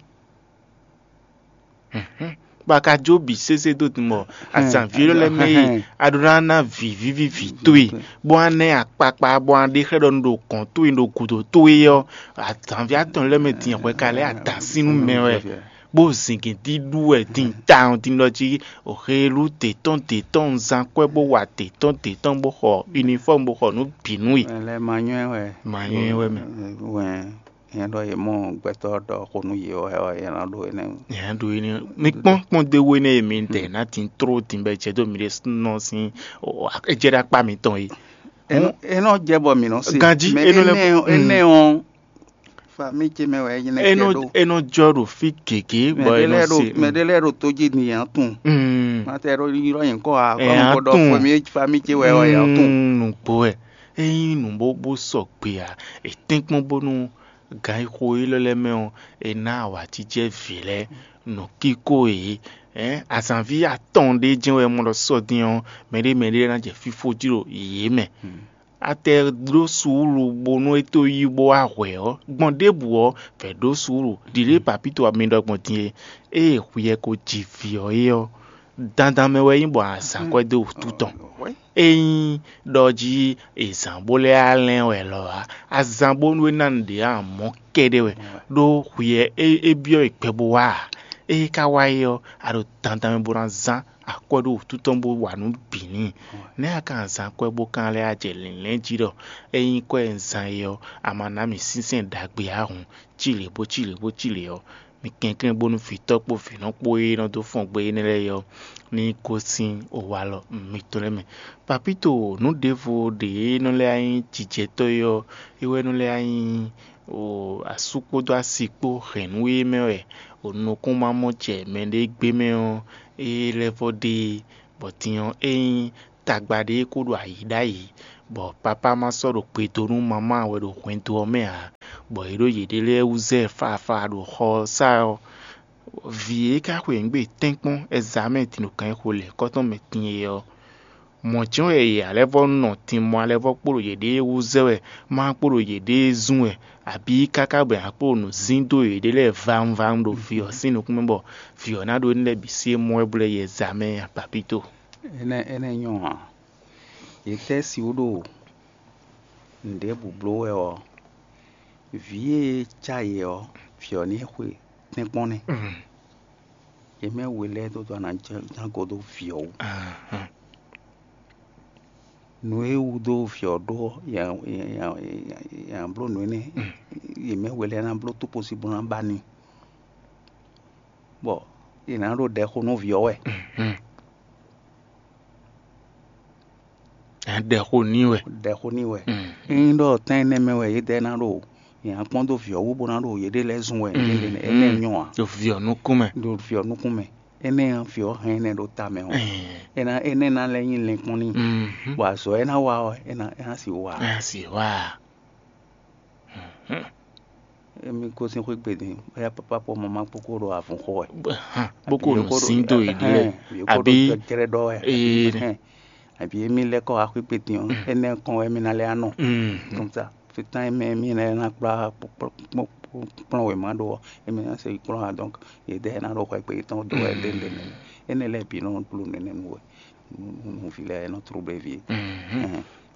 Bɔ a ka jó bǐ sésé dó din bɔ azǎnví élɔ́ lɛ́ɛ mɛ e a ɖó ná ná vǐ víví vǐ towe, bó wá ná ɛ akpakpa, bó wá ɖe xlɛ́ ɖɔ un ɖo gɔ̌n towe, un ɖo gǔdo towe ɔ́, azǎnví atɔn lɛ́ɛ mɛ din hwɛ ka lɛ́ adǎn sín nú mɛ wɛ, bó zǐngín dídú wɛ din tawun din ɖɔ jí o xelú dě tɔn dě tɔn un zán kwɛ́ bó wa dě tɔn dě tɔn bó xɔ unifɔ́mu bó xɔ nǔ bǐ nú we. Mɛ lɛ́ɛ ma nywɛ́ wɛ. Ma nywɛ́ wɛ mɛ. Wɛ. Nyɛ ɖɔ yě mɔ gbɛtɔ́ ɖɔ xó nú yě wɛ ɔ́, yě ná ɖó énɛ́. Yě ná ɖó énɛ́. Mi kpɔ́n kpɔ́n dó we nɛ́ e mi ɖɛ ná din tró din bɔ è jɛ dó mi ɖésúnɔ sín ejɛ ɖo akpá mitɔn é. É nɔ jɛ bɔ mǐ nɔ se. Ganjí, mɛ é nɔ lɛ́ énɛ́ ɔ́, énɛ́ ɔ́, famille ce mɛ wɛ é nyí nɛ́ é nɔ kɛ ɖó. É nɔ jɔ ɖo fí gěgé bɔ é nɔ se. Mɛ ɖé lɛ́ɛ ɖo tó jí ni yě ná tunwun. Mm. Má tɛ ɖó ylɔ́ nyǐkɔ ǎ, Ɛ kɔ á mɔ ɖɔ tunwun. Fɔmí famille ce wɛ ɔ́, yě ná tunwun. Mm, nǔgbó wɛ. Ényí nǔ bó bó sɔgbe ǎ, è tɛ́nkpɔ́n bónú gan e xo élɔ́ lɛ́ɛ mɛ ɔ́, è ná awǎjijɛ vǐ lɛ́ɛ nǔkíko yě. Ɛ̌, azǎnví atɔn ɖé jɛ́n wɛ mɔ ɖɔ sɔ́ dín ɔ́, mɛɖé mɛɖé ná jɛ fífó jí ɖo yě mɛ. A tɛ ɖó suúlu bónú é tó yí bó wá hwɛ̌ ɔ́, gbɔn ɖěbǔ ɔ́, vɛ̌ ɖó suúlu. Ɖiɖě papíto mi ɖɔ gbɔn din e, ée hwi yɛ ko ji vǐ ɔ́ é ɔ́, dandan mɛ wɛ nyí bɔ a zǎn kwɛ́ dó wǔtu tɔn. Ényí ɖɔ jí è zǎn bó lɛ́ á lɛ́n wɛ lɔ ǎ, a zǎn bónú é ná nǔɖé ǎ mɔ̌ kɛ́ɖɛ́ wɛ, ɖó hwi e é byɔ́ è gbɛ bó wá ǎ. Ée é ka wá é ɔ́, a ɖo dandan mɛ bó ná zán akwɛ́ ɖó wǔtu tɔn bó wa nǔ bǐ n'i. Nɛ̌ a ka ná zán akwɛ́ bó ka ná lɛ́ wá jɛ lǐnlɛ́n jí ɖɔ ényí kwɛ́ e un zán é ɔ́, a ma ná mì sínsɛ́n ɖagbe ǎ hǔn, cí lě bó cí lě bó cí lě ɔ́, kɛnklɛ́n bónú vǐtɔ́ kpó vǐnɔ kpó e nɔ dó fɔn gbe énɛ́ lɛ́ɛ é ɔ́, ní gosín walɔ mitɔn lɛ́ɛ mɛ. Papíto, nǔ ɖěvo ɖě e nɔ lɛ́ nyí jijɛtɔ́ é ɔ́, é wɛ nɔ lɛ́ nyí asú kpódó asi kpó hɛ̌nnu e mɛ wɛ nukúnmamɔjɛ mɛɖé gbé mɛ ɔ́, é lɛ́ vɔ ɖe, bɔ din ɔ́, é nyí tagba ɖé kó ɖo ayǐ ɖ'ayǐ, bɔ papá ma sɔ́ ɖo gbe dó nú mamá wɛ ɖo hwɛndo ɔ́ mɛ ǎ, bɔ yě ɖo yěɖée lɛ́ɛ wú zɛ fafa ɖo xɔ ɔ́ sá ɔ́. Vǐ e ka xwe nǔgbé tɛ́nkpɔ́n ɛzamɛ din ɖo kan e xo lɛ̌kɔ́tɔn mɛ din é ɔ́, mɔ̌ jɛ́n wɛ yě alɛ́ vɔ nɔ din mɔ alɛ́ vɔ kpo ɖo yěɖée wú zɛ wɛ, má kpo ɖo yěɖée zún wɛ, abǐ káká bɔ yě ná kpo ɖo nǔ zín dó yěɖée lɛ́ɛ vawunvawun ɖo vǐ ɔ́ sín nukún mɛ, bɔ vǐ ɔ́ ná ɖó énɛ́ lɛ́ɛ bǐ sí e mɔ wɛ blɛ́ yɛ ɛzamɛ a papíto. Énɛ́ énɛ́ nyɔ́ ǎ. Yě tɛ́ si wú ɖo nǔɖé bǔbló wɛ ɔ́, vǐ e cá yě ɔ́, vǐ ɔ́ ní xwe tɛ́nkpɔ́n nɛ́. Yě mɛ we lɛ́ɛ dó dó ana ján go dó vǐ ɔ́ wú. Nǔ e wú dó vǐ ɔ́ ɖó ɔ́, yě ná bló nǔ énɛ́. Yě mɛ we lɛ́ɛ ná bló tókposí bó ná ba n'i, bɔ yě ná ɖo ɖɛ xo nú vǐ ɔ́ wɛ. Ɖɛ xo n'i wɛ. Ɖɛ xo n'i wɛ. Ényí ɖɔ tɛn énɛ́ mɛ wɛ yědɛɛ ná ɖo yě ná kpɔ́n dó vǐ ɔ́ wú bó ná ɖo yěɖée lɛ́ɛ zun wɛ, énɛ́ nyɔ́ ǎ. Ɖo vǐ ɔ́ nukún mɛ. Ɖo vǐ ɔ́ nukún mɛ. Énɛ́ ɔ́, vǐ ɔ́ hɛn énɛ́ ɖó ta mɛ ɔ́, é ná énɛ́ ná lɛ́ nyí lɛ́nkpɔ́n n'i, bɔ azɔ̌ e ná wa ɔ́, é ná é ná sixú wa ǎ. Ná si wa. Émí gosín xwé gbe din, bóyá papá kpó mamá kpó kó ɖo avun xo wɛ. Bó kó nɔ sín dó yě ɖi wɛ. Àbí kó ɖo jɛjɛrɛ ɖɔ wɛ. Àbí émí lɛ́ kɔ wá xwé gbe din ɔ́, énɛ́ kɔn wɛ émí ná lɛ́ anɔ. Comme ça, fitán émí émí lɛ́ ná kplá kplɔ́n wěma ɖó ɔ́, émí ná se kplɔ́n ǎ. Donc yědɛɛ ná ɖo xwɛ gbe yětɔn dó wɛ ɖéɖé nɛnɛ. Énɛ́ lɛ́ɛ bǐ nɔ bló nɛnɛ nú we, nú vǐ lɛ́ɛ nɔ tló blé vǐ.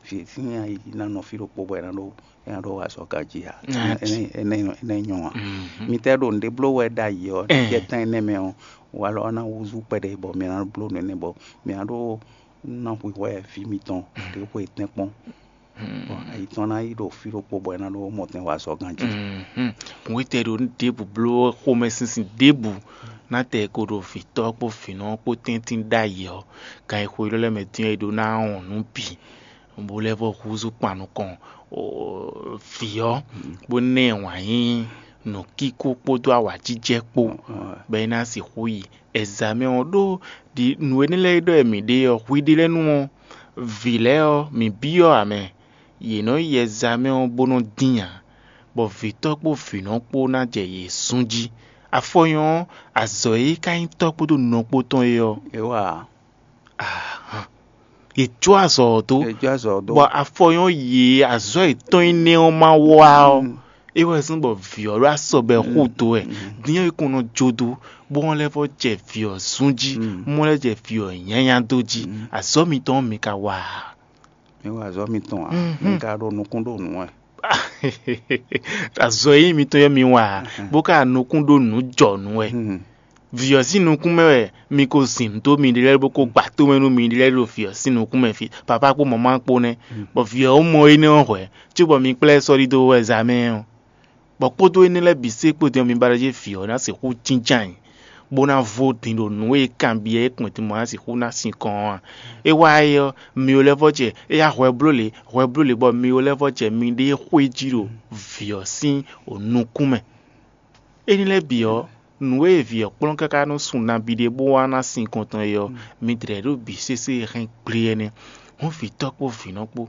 Vǐ sín ayi ná nɔ fí ɖokpó bɔ é ná ɖó é ná ɖó wa sɔ ganjí ǎ. Énɛ́ nyɔ́ ǎ. Mi tɛ́ ɖo nǔɖé bló wɛ ɖ'ayǐ ɔ́, jɛ tán énɛ́ mɛ ɔ́, walɔ ɔ́ ná húzú kpɛɖé bɔ mi ná bló nǔ énɛ́ bɔ mi ná ɖó ná hwixwɛ vǐ mitɔn ɖě xwe tɛ́nkpɔ́n. Bɔ ayi tɔn ná yi ɖo fí ɖokpó bɔ é ná ɖó mɔtɛn wa sɔ ganjí. Wětɛ ɖo ɖěbǔ bló xomɛ sínsìn ɖěbǔ ná tɛ ko ɖo vǐtɔ́ kpó vǐnɔ kpó tɛ́ntin ɖ'ayǐ ɔ́, gan e xo élɔ́ lɛ́ɛ mɛ dín ɔ́, è ɖó ná wɔn nǔ bǐ. Bó lɛ́ vɔ húzú kpan nukɔn vǐ ɔ́, bó ná ɛ wǎn yí nǔkíkó kpódó awǎjijɛ kpó, bɔ é ná sixú yi ɛzǎmɛ ɔ́ ɖó. Ɖi nǔ énɛ́ lɛ́ɛ ɖɔ wɛ mǐ ɖe ɔ́, hwiɖélɛ́nu ɔ́, vǐ lɛ́ɛ ɔ́, mǐ byɔ́ ǎ mɛ. Yě nɔ yi ɛzǎmɛ ɔ́ bó nɔ́ dín ǎ, bɔ vǐtɔ́ kpó vǐnɔ kpó ná jɛ yě sún jí. Afɔnyɔ ɔ́, azɔ̌ e ka nyí tɔ́ kpódó nɔ kpó tɔn é ɔ́, é wa ahan, yě jó azɔ̌ ɔ́ dó. Ejó azɔ do. Bɔ afɔnyɔ yě azɔ̌ yětɔn énɛ́ ɔ́ ma wá ɔ́, é wɛ zɔ́n bɔ vǐ ɔ́ ɖo asɔ bɔ ɛ xú dó wɛ. Dín ɔ́ é kɔn nɔ jó dó, bó ɔ́ lɛ́ vɔ jɛ vǐ ɔ́ zún jí, mɔ lɛ́ jɛ vǐ ɔ́ nyanya dó jí. Azɔ̌ mitɔn ɔ́ mi ka wa ǎ. Mi wa azɔ mitɔn a? Mi ka ɖo nukún ɖo nǔ wɛ. Azɔ e nyí mitɔn yɛ mi wa ǎ, bó ka nukún ɖo nǔ jɔ nǔ wɛ. Vǐ ɔ́ sín nukún mɛ wɛ mi ko zin nǔ dó miɖée lɛ́ɛ bó ko gba tó mɛ nú miɖée lɛ́ɛ ɖo vǐ ɔ́ sín nukún mɛ fí, papá kpó mamá kpó nɛ́. Bɔ vǐ ɔ́ mɔ énɛ́ ɔ́ hwɛ̌, cóbɔ mi kplá ɛ sɔ́ ɖidó wɛ zǎmɛ ɔ́. Bɔ kpódó énɛ́ lɛ́ɛ bǐ sé kpódó mi ba ɖɔ jí vǐ ɔ́ ná sixú jínjɔ́n ayǐ, bó ná vo din ɖo nǔ e kanbyɔ́ é kpɛn din bɔ ná sixú ná sinkɔn ɔ́ a? É wá é ɔ́, mi ɔ́ lɛ́ vɔ jɛ éyá hwɛ bló lě, hwɛ bló lě bɔ mi ɔ́ lɛ́ vɔ jɛ miɖée xwé jí ɖo vǐ ɔ́ sín nukún mɛ. Énɛ́ lɛ́ɛ bǐ ɔ́, nǔ e vǐ ɔ́ kplɔ́n káká nú sun nabí ɖé bó wá ná sin kɔntɔn é ɔ́, mi dlɛ̌ ɖo bǐ sésé e hɛn gblé ɛnɛ́. Hɔn vǐtɔ́ kpó vǐnɔ kpó,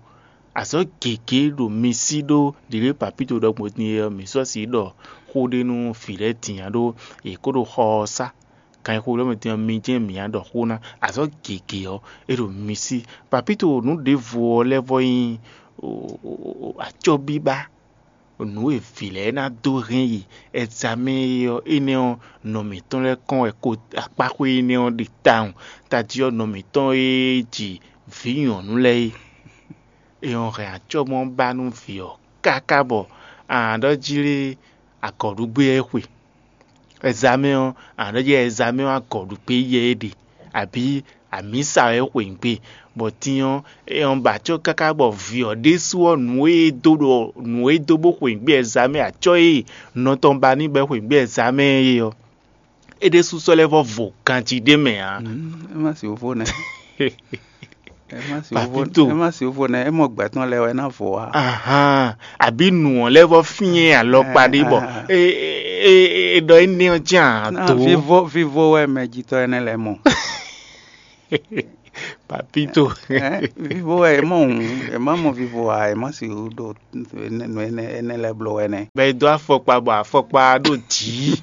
azɔ̌ gěgé ɖo mi sí ɖó ɖǐɖó e Papíto ɖɔ gbɔn din é ɔ́, mǐ sɔ́ sǐ ɖɔ xó ɖé nú vǐ lɛ́ɛ din ǎ ɖó yě kó ɖo xɔ ɔ́ sá. Kan e xo lɔ́ mɛ din ɔ́, mi jɛ́n mǐ ná ɖɔ xó ná. Azɔ̌ gěgé ɔ́, é ɖo mi sí. Papíto nǔ ɖěvo ɔ́ lɛ́ vɔ nyí acɔ́bíbá. Nǔ e vǐ lɛ́ɛ ná dó hɛn yi ɛzamɛ é ɔ́, énɛ́ ɔ́, nɔ mǐtɔn lɛ́ɛ kɔn wɛ ko akpáxwé énɛ́ ɔ́ ɖe tawun. Tají ɔ́, nɔ mǐtɔn e ji vǐ nyɔ̌nu lɛ́ɛ é, é ɔ́ hɛn acɔ́mɔ ba nú vǐ ɔ́ káká bɔ a nǎ ɖɔ jí lé agɔ̌ɖugbé ɔ́ é xwe. Ɛzamɛ ɔ́, a nǎ ɖɔ jí ɛzamɛ ɔ́ agɔ̌ɖugbé yɛ é ɖe. abǐ amǐsa wɛ é xweyǐgbe, bɔ din ɔ́, é ɔ́ ba acɔ́ káká bɔ vǐ ɔ́ ɖésú ɔ́, nǔ e é dó ɖo nǔ e é dó bó xweyǐgbe ɛ zá mɛ acɔ́ e nɔ tɔn ba n'i bɔ é xweyǐgbe ɛ zá mɛ é ɔ́, é ɖésú sɔ́ lɛ́ vɔ́ vo ganjí ɖé mɛ ǎ. É má si wǒ nɛ́. É má si wǒ Papito. É má si wǒ nɛ́. É mɔ gbɛtɔ́ lɛ́ɛ wɛ ná vo ǎ. Ahan, àbí nǔ ɔ́ lɛ́ vɔ́ fín ɛ alɔkpa ɖé bɔ é é é é ɖɔ énɛ́ ɔ́ jɛ́n ǎ tó. Vivo vivo wɛ mɛ jitɔ́ énɛ́ lɛ́ɛ mɔ. Papito. Vivo wɛ é mɔ hǔn, é má mɔ vivo ǎ, é má si ɖo nǔ énɛ́ énɛ́ lɛ́ɛ bló wɛ nɛ́. Bɛ é dó afɔkpa bɔ afɔkpa ɖo jǐ.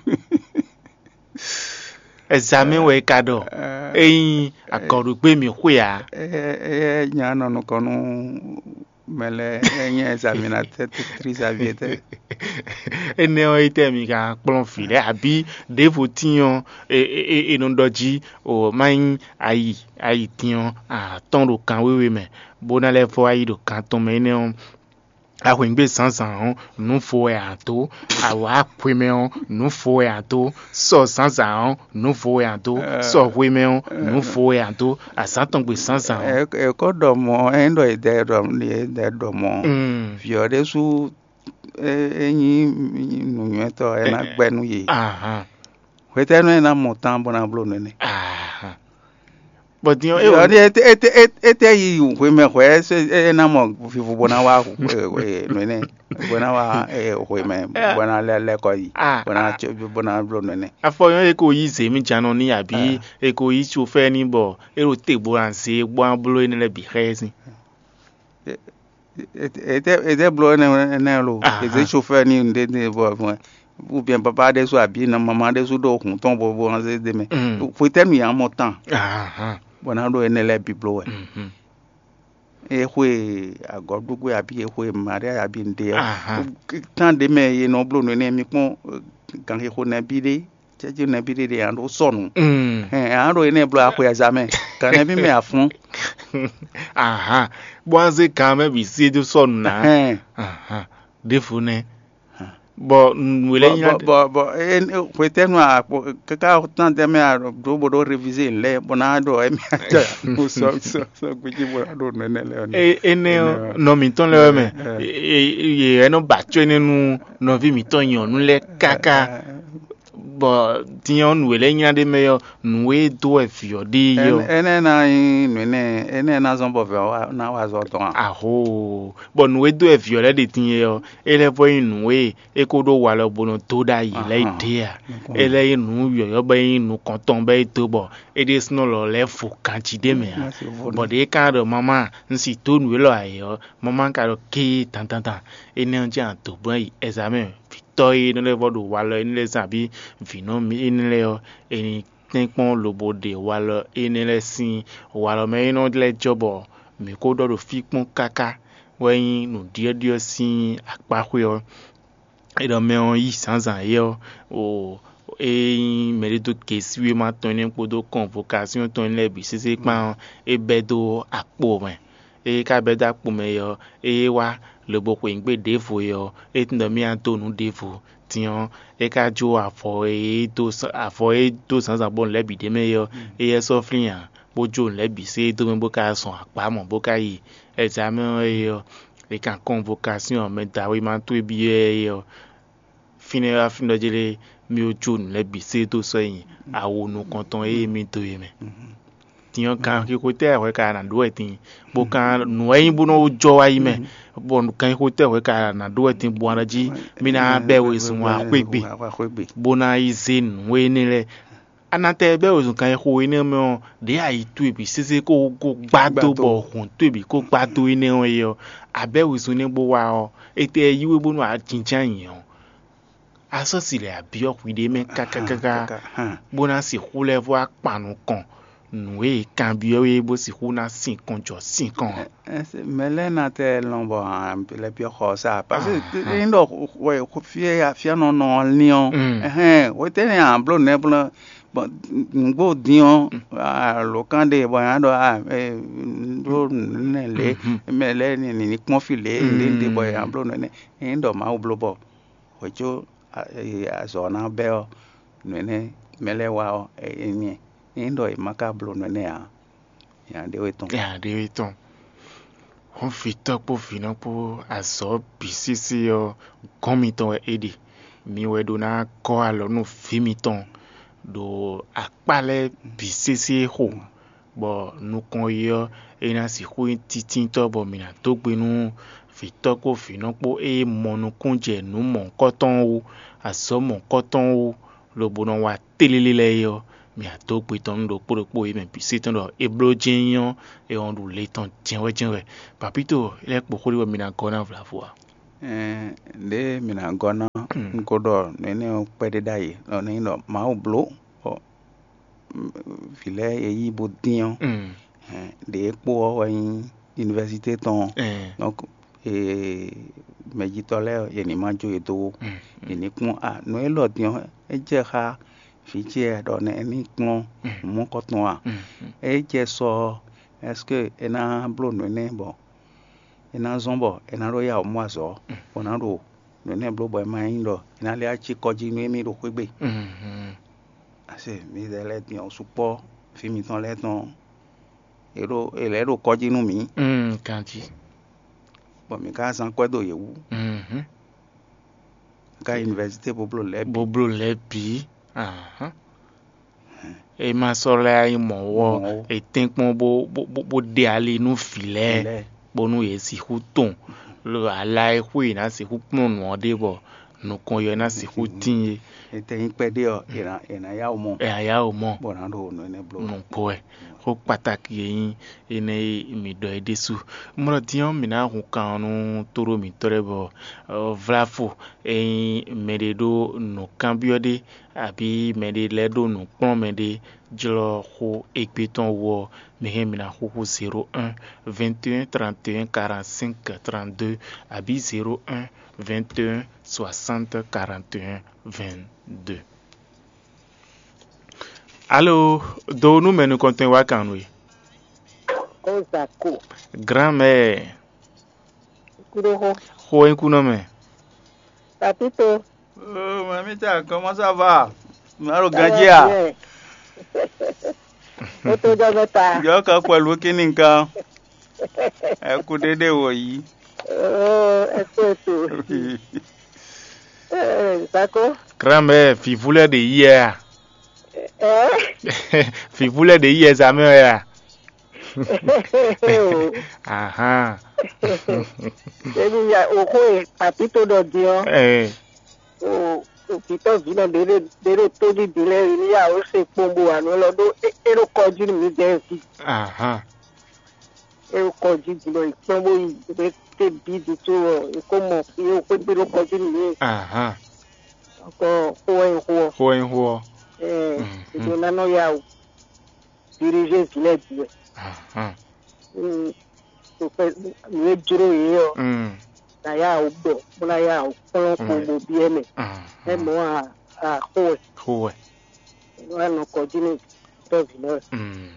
Ɛzamɛ wɛ é ka ɖɔ. Ényí agɔ̌ɖugbe mǐ xwe ǎ. Éyɛ́ nya nɔ nukɔn nú mɛ lɛ́ɛ, é nyí ɛzaminatɛ́ titri Xavier tɛ́. Énɛ́ ɔ́, étɛ́ mi ka kplɔ́n vǐ lɛ́ɛ abǐ ɖěvo tíin ɔ́, è nɔ ɖɔ jí o má nyí ayi ayi din ɔ́, a tɔ́n ɖo kan wéwe mɛ, bó ná lɛ́ vɔ́ ayi ɖo kan tɔn mɛ énɛ́ ɔ́, a hwǐngbe zǎnzǎn ɔ́, nǔ vo wɛ a dǒ; a wǎ hwemɛ ɔ́, nǔ vo wɛ a dǒ; sɔ zǎnzǎn ɔ́, nǔ vo wɛ a dǒ; sɔ hwemɛ ɔ́, nǔ vo wɛ a dǒ; azǎn tɔn gbe zǎnzǎn ɔ́. È kó ɖɔ mɔ̌, é nyí ɖɔ è dɛ ɖɔ è dɛ ɖɔ mɔ̌, vǐ ɔ́ ɖésú é nyí nǔnywɛ́tɔ́, é ná gbɛ́ nú yě. Hwetɛ́nu é ná mɔ tán bó ná bló nǔ énɛ́? Bɔ din ɔ́, é wɔ Ɔ́ ɖi étɛ́ yi hwemɛ hwɛ̌ é ná mɔ vivo bó ná wá nǔ énɛ́, bó ná wá hwemɛ, bó ná lɛ́ lɛ́ kɔ yi, Ah, bó ná ah. Bó ná bló nǔ énɛ́. Afɔ nyɔ́ e ko yí zě mì jánɔ n'i abǐ e ko yí sofɛ́ n'i bɔ é ɖo te bó ná zé bó ná bló énɛ́ lɛ́ɛ bǐ xá ɛ sín. Ètɛ́ bló énɛ́ énɛ́ lo? Aha. Èzé sofɛ́ n'i nǔɖéɖé bɔ ou bien papa ɖésú abǐ nɔ mama ɖésú ɖo hǔn tɔn bo bo zé dé mɛ. Mm. Hwetɛ́nu yě mɔ tán Ahan. Bɔ ná ɖó énɛ́ lɛ́ɛ bǐ bló wɛ. Mhm. É xwe agɔ̌ɖugbe abǐ é xwe Maria abǐ nǔɖé ɔ́. Ahan. Tán ɖě mɛ è nɔ bló nǔ énɛ́ mi kpɔ́n ganxixo nɛbí ɖé, cɛ́jú nɛbí ɖé ɖe a ɖó sɔnu. Mm. Hɛn a ɖo énɛ́ bló axwe azamɛ. Gan nɛbí mɛ afún. Ahan. Bó wá zé gan mɛ bǐ sí é dó sɔnu ná. Hɛn. Ahan. Ɖěvo nɛ́. Bɔ nǔ e lɛ́ nyí bɔ bɔ bɔ hwetɛ́nu a kpo káká tán tɛ́ mɛ a ɖó bó ɖó révisé lɛ́ɛ bó ná ɖɔ émí atɛ sɔ sɔ sɔ gbéjé bó ná ɖo nɛnɛ lɛ́ɛ ɔ́. Énɛ́ ɔ́, nɔ mǐtɔn lɛ́ɛ wɛ mɛ. Yě wɛ nɔ ba acɔ́ énɛ́ nú nɔví mǐtɔn nyɔ̌nu lɛ́ɛ káká. Bɔ din ɔ́, nǔ e lɛ́ nylá ɖ'é mɛ ɔ́, nǔ e dó wɛ vǐ ɔ́ ɖe é ɔ́. Énɛ́ ná nyí nǔ énɛ́ énɛ́ ná zɔ́n bɔ vǐ ɔ́ ná wa azɔ̌ tɔn a? Ahoo, bɔ nǔ e dó wɛ vǐ ɔ́ lɛ́ ɖe din é ɔ́, é lɛ́ vɔ nyí nǔ e é ko ɖó walɔ bo nɔ dó ɖ'ayǐ lɛ́ɛ é ɖe a? É lɛ́ nyí nǔ yɔ̌yɔ́ bɔ é nyí nukɔntɔn bɔ é dó bɔ é ɖésúnɔ lɔ lɛ́ vo ganjí ɖ'é mɛ ǎ. Bɔ ɖě é ka ɖɔ mamá, un si dó nǔ élɔ́ ayǐ ɔ́, mamá ka ɖɔ kéé dandandan, énɛ́ ɔ́ jɛ́n a dǒ gbɔn yi ɛzamɛ vǐtɔ́ e nɔ lɛ́ vɔ ɖo walɔ énɛ́ lɛ́ɛ zán abǐ vǐnɔ énɛ́ lɛ́ɛ ɔ́, è nǐ tɛ́nkpɔ́n lobo ɖe walɔ énɛ́ lɛ́ɛ sín walɔ mɛ e nɔ lɛ́ jɔ bɔ mǐ ko ɖɔ ɖo fí kpɔ́n káká wɛ nyí nǔɖyɔ́ɖyɔ́ sín akpáxwé ɔ́. É ɖɔ mɛ ɔ́ yí zǎnzǎn é ɔ́, o é nyí mɛɖé dó gesíwéma tɔn énɛ́ kpódó kɔnvokasíɔn tɔn énɛ́ lɛ́ɛ bǐ sésé kpán ɔ́, é bɛ́ dó akpo mɛ. Ée é ka bɛ́ dó akpo mɛ é ɔ́, ée é wá lobo xweyǐgbe ɖěvo é ɔ́, é tunwun ɖɔ mì ná dó nǔ ɖěvo. Din ɔ́, é ka jó avɔ e é dó avɔ e é dó zǎnzǎn bɔ nǔ lɛ́ɛ bǐ ɖ'é mɛ é ɔ́, éyɛ́ sɔ́ flín ǎ, bó jó nǔ lɛ́ɛ bǐ sɛ́ dó mɛ bó ka zɔn akpá mɔ̌ bó ka yi ɛzamɛ ɔ́ é ɔ́, è kan kɔnvokasíɔn mɛ dǎwe ma towe byɔ́ ɛ é ɔ́, fínɛ́ wá fínɛ́ jlé mì jó nǔ lɛ́ɛ bǐ sɛ́ dó sɔ́ nyi awo nukɔntɔn e mì dó é mɛ. Din ɔ́, ganxixo tɛ́ hwɛ ka nǎ ɖó wɛ din, bó ka nǔ wɛ nyí bó nɔ jɔ wá yi mɛ, bɔ ganxixo tɛ́ hwɛ ka nǎ ɖó wɛ din bó ná jí mì ná bɛ́ wezun wá xwé gbe, bó ná yi zé nǔ énɛ́ lɛ́ɛ. A nǎ tɛ bɛ́ wezun ganxixo énɛ́ mɛ ɔ́, ɖěe ayi towe bǐ sésé kó kó gbá dó bɔ hǔn towe bǐ kó gbá dó énɛ́ ɔ́ é ɔ́, a bɛ́ wezun énɛ́ bó wá ɔ́, etɛ yí we bónú a jínjɔ́n ayǐ ɔ́, a sɔ́ si lɛ̌ a byɔ́ hwiɖée mɛ káká káká, bó ná sixú lɛ́ vɔ́ wá kpan nukɔn nǔ e è kanbyɔ́ we é bó sixú ná sinkɔn jɔ sinkɔn ǎ. Mɛ lɛ́ɛ ná tɛ lɔn bɔ lɛ́ byɔ́ xɔ ɔ́ sá, parce que ényí ɖɔ fí e afyánɔ nɔ ɔ́ lín ɔ́, hwetɛ́nɛ a bló nɛ̌ bló bɔ nǔgbó dín ɔ́, alǒkan ɖe bɔ nya ɖɔ ɖó nɛ̌ lě, mɛ lɛ́ɛ ní kpɔ́n fí lě, nǔɖé bɔ nya bló nɛ̌, ényí ɖɔ Mawu bló bɔ hwě có azɔ̌ ɔ́ ná bɛ́ ɔ́, nǔ énɛ́ mɛ lɛ́ɛ wa ɔ́, é nyí nyí ɖɔ è ma ka bló nǔ énɛ́ ǎ, nya ɖé wɛ tɔn. Nya ɖé wɛ tɔn. Hɔn vǐtɔ́ kpó vǐnɔ kpó azɔ̌ bǐ sésé ɔ́, gɔ́n mitɔn wɛ é ɖe. Mi wɛ ɖó ná gɔ́ alɔ nú vǐ mitɔn ɖo akpá lɛ́ɛ bǐ sésé xo, bɔ nukɔn yi ɔ́, é ná sixú nyí títíntɔ́, bɔ mǐ ná dó gbe nú vǐtɔ́ kpó vǐnɔ kpó e mɔ nukúnnú jɛ nǔ mɔ̌hunkɔtɔn ɔ́ wú, azɔ̌ mɔ̌hunkɔtɔn ɔ́ wú, lobo nɔ wa tlélé lɛ́ɛ é ɔ́, mǐ wá dó gbe tɔn nú ɖokpó ɖokpó e mɛ bǐ se tɔn ɖɔ é bló jɛ́n nyí ɔ́, é wɔn ɖu le tɔn jɛ́nwɛ́ jɛ́nwɛ́. Papito, é lɛ́ kpo xó ɖé bɔ mi ná gɔ́ ná vlavo ǎ. Ɛɛ, ɖěe mǐ ná gɔ́ ná un ko ɖɔ nǔ énɛ́ ɔ́ kpɛɖé ɖ'ayǐ, ɖɔ nɛ́ nyí ɖɔ Mawu bló, bɔ vǐ lɛ́ɛ e yí bó dín ɔ́, ɖě e kpo ɔ́ wɛ nyí univɛsitɛ́ tɔn ɔ́. Donc mɛjitɔ́ lɛ́ɛ ɔ́, yě ní ma jó yě dó ó. Yě ní kpɔ́n a nǔ élɔ́ din ɔ́, é jɛ xá vǐ ce ɖɔ nɛ é ní kplɔ́n mɔ̌kɔtɔn a? É jɛ sɔ ɔ́, ɛ́seke é ná bló nǔ énɛ́ bɔ é ná zɔ́n bɔ é ná ɖó ya wǔ mɔ azɔ̌, bó ná ɖo nǔ énɛ́ bló bɔ é ma nyí ɖɔ é ná lɛ́ cí kɔ́ jí nú émí ɖo xwé gbe? Ase midɛɛ lɛ́ɛ din ɔ́ sukpɔ́, vǐ mitɔn lɛ́ɛ tɔn, è ɖo è lɛ̌ ɖo kɔ́ jí nú mǐ. Ganjí. Bɔ mǐ ka zán kwɛ́ dó yě wú. Ká univɛsitɛ́ bó bló lɛ́ɛ bǐ. Bó bló lɛ́ɛ bǐ. Ahán. É ma sɔ́ lɛ́ nyí mɔ̌ ɔ́, è tɛ́nkpɔ́n bó bó bó ɖe ali nú vǐ lɛ́ɛ, bónú yě sixú tɔn, lo ala e xwé yě ná sixú kplɔ́n nǔ ɔ́ ɖe bɔ nukɔn yɔ ná sixú tín é. È tɛ nyí kpɛɖé ɔ́, è nǎ è nǎ yá wǔ mɔ. È nǎ yá wǔ mɔ. Bɔ nǎ ɖo nǔ énɛ́ bló. Nǔgbó wɛ. Xó kpatáki e nyí énɛ́ e mi ɖɔ é ɖésú. Mlɔ din ɔ́, mǐ ná hun kan ɔ́ nú tóɖó mǐtɔn lɛ́ɛ bɔ vláfo e nyí mɛɖé ɖó nǔkanbyɔ́ ɖé abǐ mɛɖé lɛ́ɛ ɖó nǔ kplɔ́n mɛɖé jlɔ́ xó égbé tɔn wú ɔ́, mi hɛn mi ná xúxú zéro un, vingt et un, trente et un, quarante-cinq, trente-deux abǐ zéro un, vingt et un, soixante, quarante et un, vingt-deux. Alo, do nú mɛ nukɔntɔn e wá kan nú we. Ó Zako. Grand-mère. Kúɖóxó. Xó e kú nɔ mɛ. Papito. Oh, mamita, comment ça va? Má ɖo ganjí a? Ó tó jɔ mẹ́ta. Jɔ kan pẹ̀lú kíni kan. Ẹ kú dédé wò yìí. Oh, ẹ kú ètò. Ẹ Zako. Grand-mère, fìvú lɛ́ɛ ɖe yí ɛ a? Ẹ? Fìvú lɛ́ɛ ɖe yí ɛ zǎmɛ ɔ́ a? Ahán. Ebi ya òxó e Papito ɖɔ din ɔ́. Ɛ. O òkìtɔ́ vǐ nɔ ɖé ɖé ɖé ɖo tóbíbí lɛ́ɛ yi ní ya ó se kpɔ́n bó wà nú lɔ ɖó é é ɖo kɔ jí nú mǐdɛɛ ví. Ahán. É ɖo kɔ jí din bɔ è kpɔ́n bó yi é té bí din tó ɔ è kó mɔ fí é xwé gbé ɖo kɔ jí nú mǐ. Ahán. Kɔ xó wɛ nyí xó ɔ. Xó wɛ nyí xó ɔ. Ɛ Mhm. È ɖo ná nɔ ya o. Dirigé vǐ lɛ́ɛ bǐ wɛ. Ahán. Mm, nǔ e jló yě ɔ́, Mm. Ná yá wǔ ɖɔ, bó ná yá wǔ kplɔ́n kpo Mm. Bó byɔ́ mɛ. Ahán. É mɔ̌ a a xó wɛ, Xó wɛ. Wá nɔ kɔ jí nú tɔ́ vǐ lɛ́ɛ. Mm.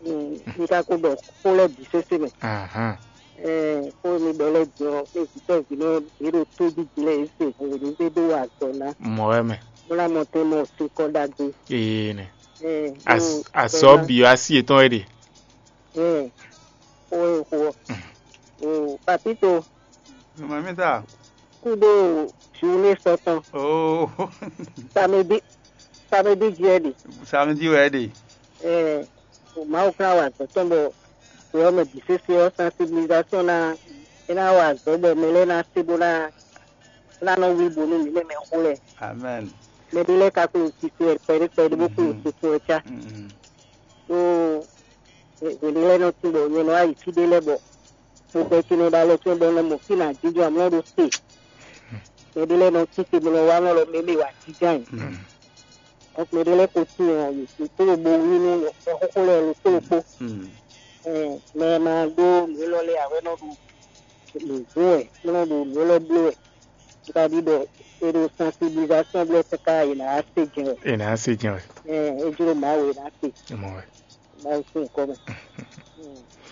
Mm, mi ka ko ɖɔ xó lɛ́ɛ bǐ sésé mɛ. Ahán. Ɛɛ, xó mi ɖɔ lɛ́ɛ din ɔ́, é vǐ tɔ́ vǐ lɛ́ɛ yě ɖo tóbíbí lɛ́ɛ yě se hǔn yě ní zé dó wa azɔ̌ ná. Mɔ̌ wɛ mɛ. Bó ná mɔ tɛn mɔ sin kɔ ɖagbe. Ee nɛ. Ɛɛ, As- bó- Azɔ̌ bó ná- bǐ ɔ́, así yětɔn wɛ ɖe. Ɛɛ, xó e xó ɔ́. O Papito, Mamita. Kúɖó journée sɔtɔn. Oh. Samedi, samedi jí wɛ ɖe. Samedi wɛ ɖe. Ɛɛ, o Mawu kplá wa azɔ̌ tɔn bɔ xwe ɔ́ mɛ bǐ sésé ɔ́, sensibilisation ná é ná wa azɔ̌ bɔ mɛ lɛ́ɛ ná se bó ná ná nɔ wlí bo nú mǐ mɛ mɛ xó lɛ́ɛ. Amen. Mɛ ɖé lɛ́ɛ ka kplé wǔ tito wɛ kpɛɖé kpɛɖé bó kplé wǔ tito wɛ cá. Mm. Ɖó hwěɖé lɛ́ɛ nɔ tín bɔ nyɛ nɔ wá yi fí ɖé lɛ́ɛ bɔ mo gbɛ ce nɔ ɖo alɔ ce bɔ nɔ mɔ fí nǎ jínjɔ́n amlɔ ɖó te. Mɛ ɖé lɛ́ɛ nɔ tín te bó nɔ wá nɔ lɔ mɛ mɛ wǎ jínjɔ́n ayǐ. Ɔkpɛ ɖé lɛ́ɛ ko tín ɔ́, yě kó ɖo bo wlí nú mɛ xóxó lɛ́ɛ ɖokpó ɖokpó. Mɛ e ma ɖó nǔ élɔ́ lɛ́ɛ ǎ wɛ nɔ ɖo nǔ zún wɛ, bó nɔ ɖo nǔ élɔ́ bló wɛ. Un ka ɖi ɖɔ è ɖo sensibilisation blɛ́ káká è nǎ se jɛn wɛ. È nǎ se jɛn wɛ. Ɛ, é jló Mawu è nǎ se. Mɔ wɛ. Mawu sín nyǐkɔ mɛ.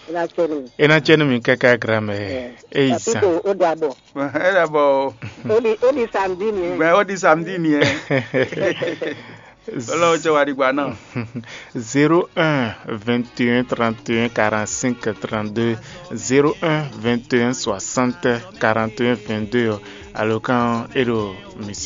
É ná cɛ nú mi. É ná cɛ nú mi káká, grand-mère. Ɛ, é yi zan. Papito, ó dàbọ̀. É dàbọ̀ o. Ó di ó di samedi nìyẹn. Bẹ́ẹ̀ ó di samedi nìyẹn. Lɔ jɛ wa ɖi gba náà. Zéro un vingt et un trente et un quarante-cinq trente-deux, zéro un vingt et un soixante quarante et un vingt-deux ɔ́, alǒkan ɔ́ é ɖo mi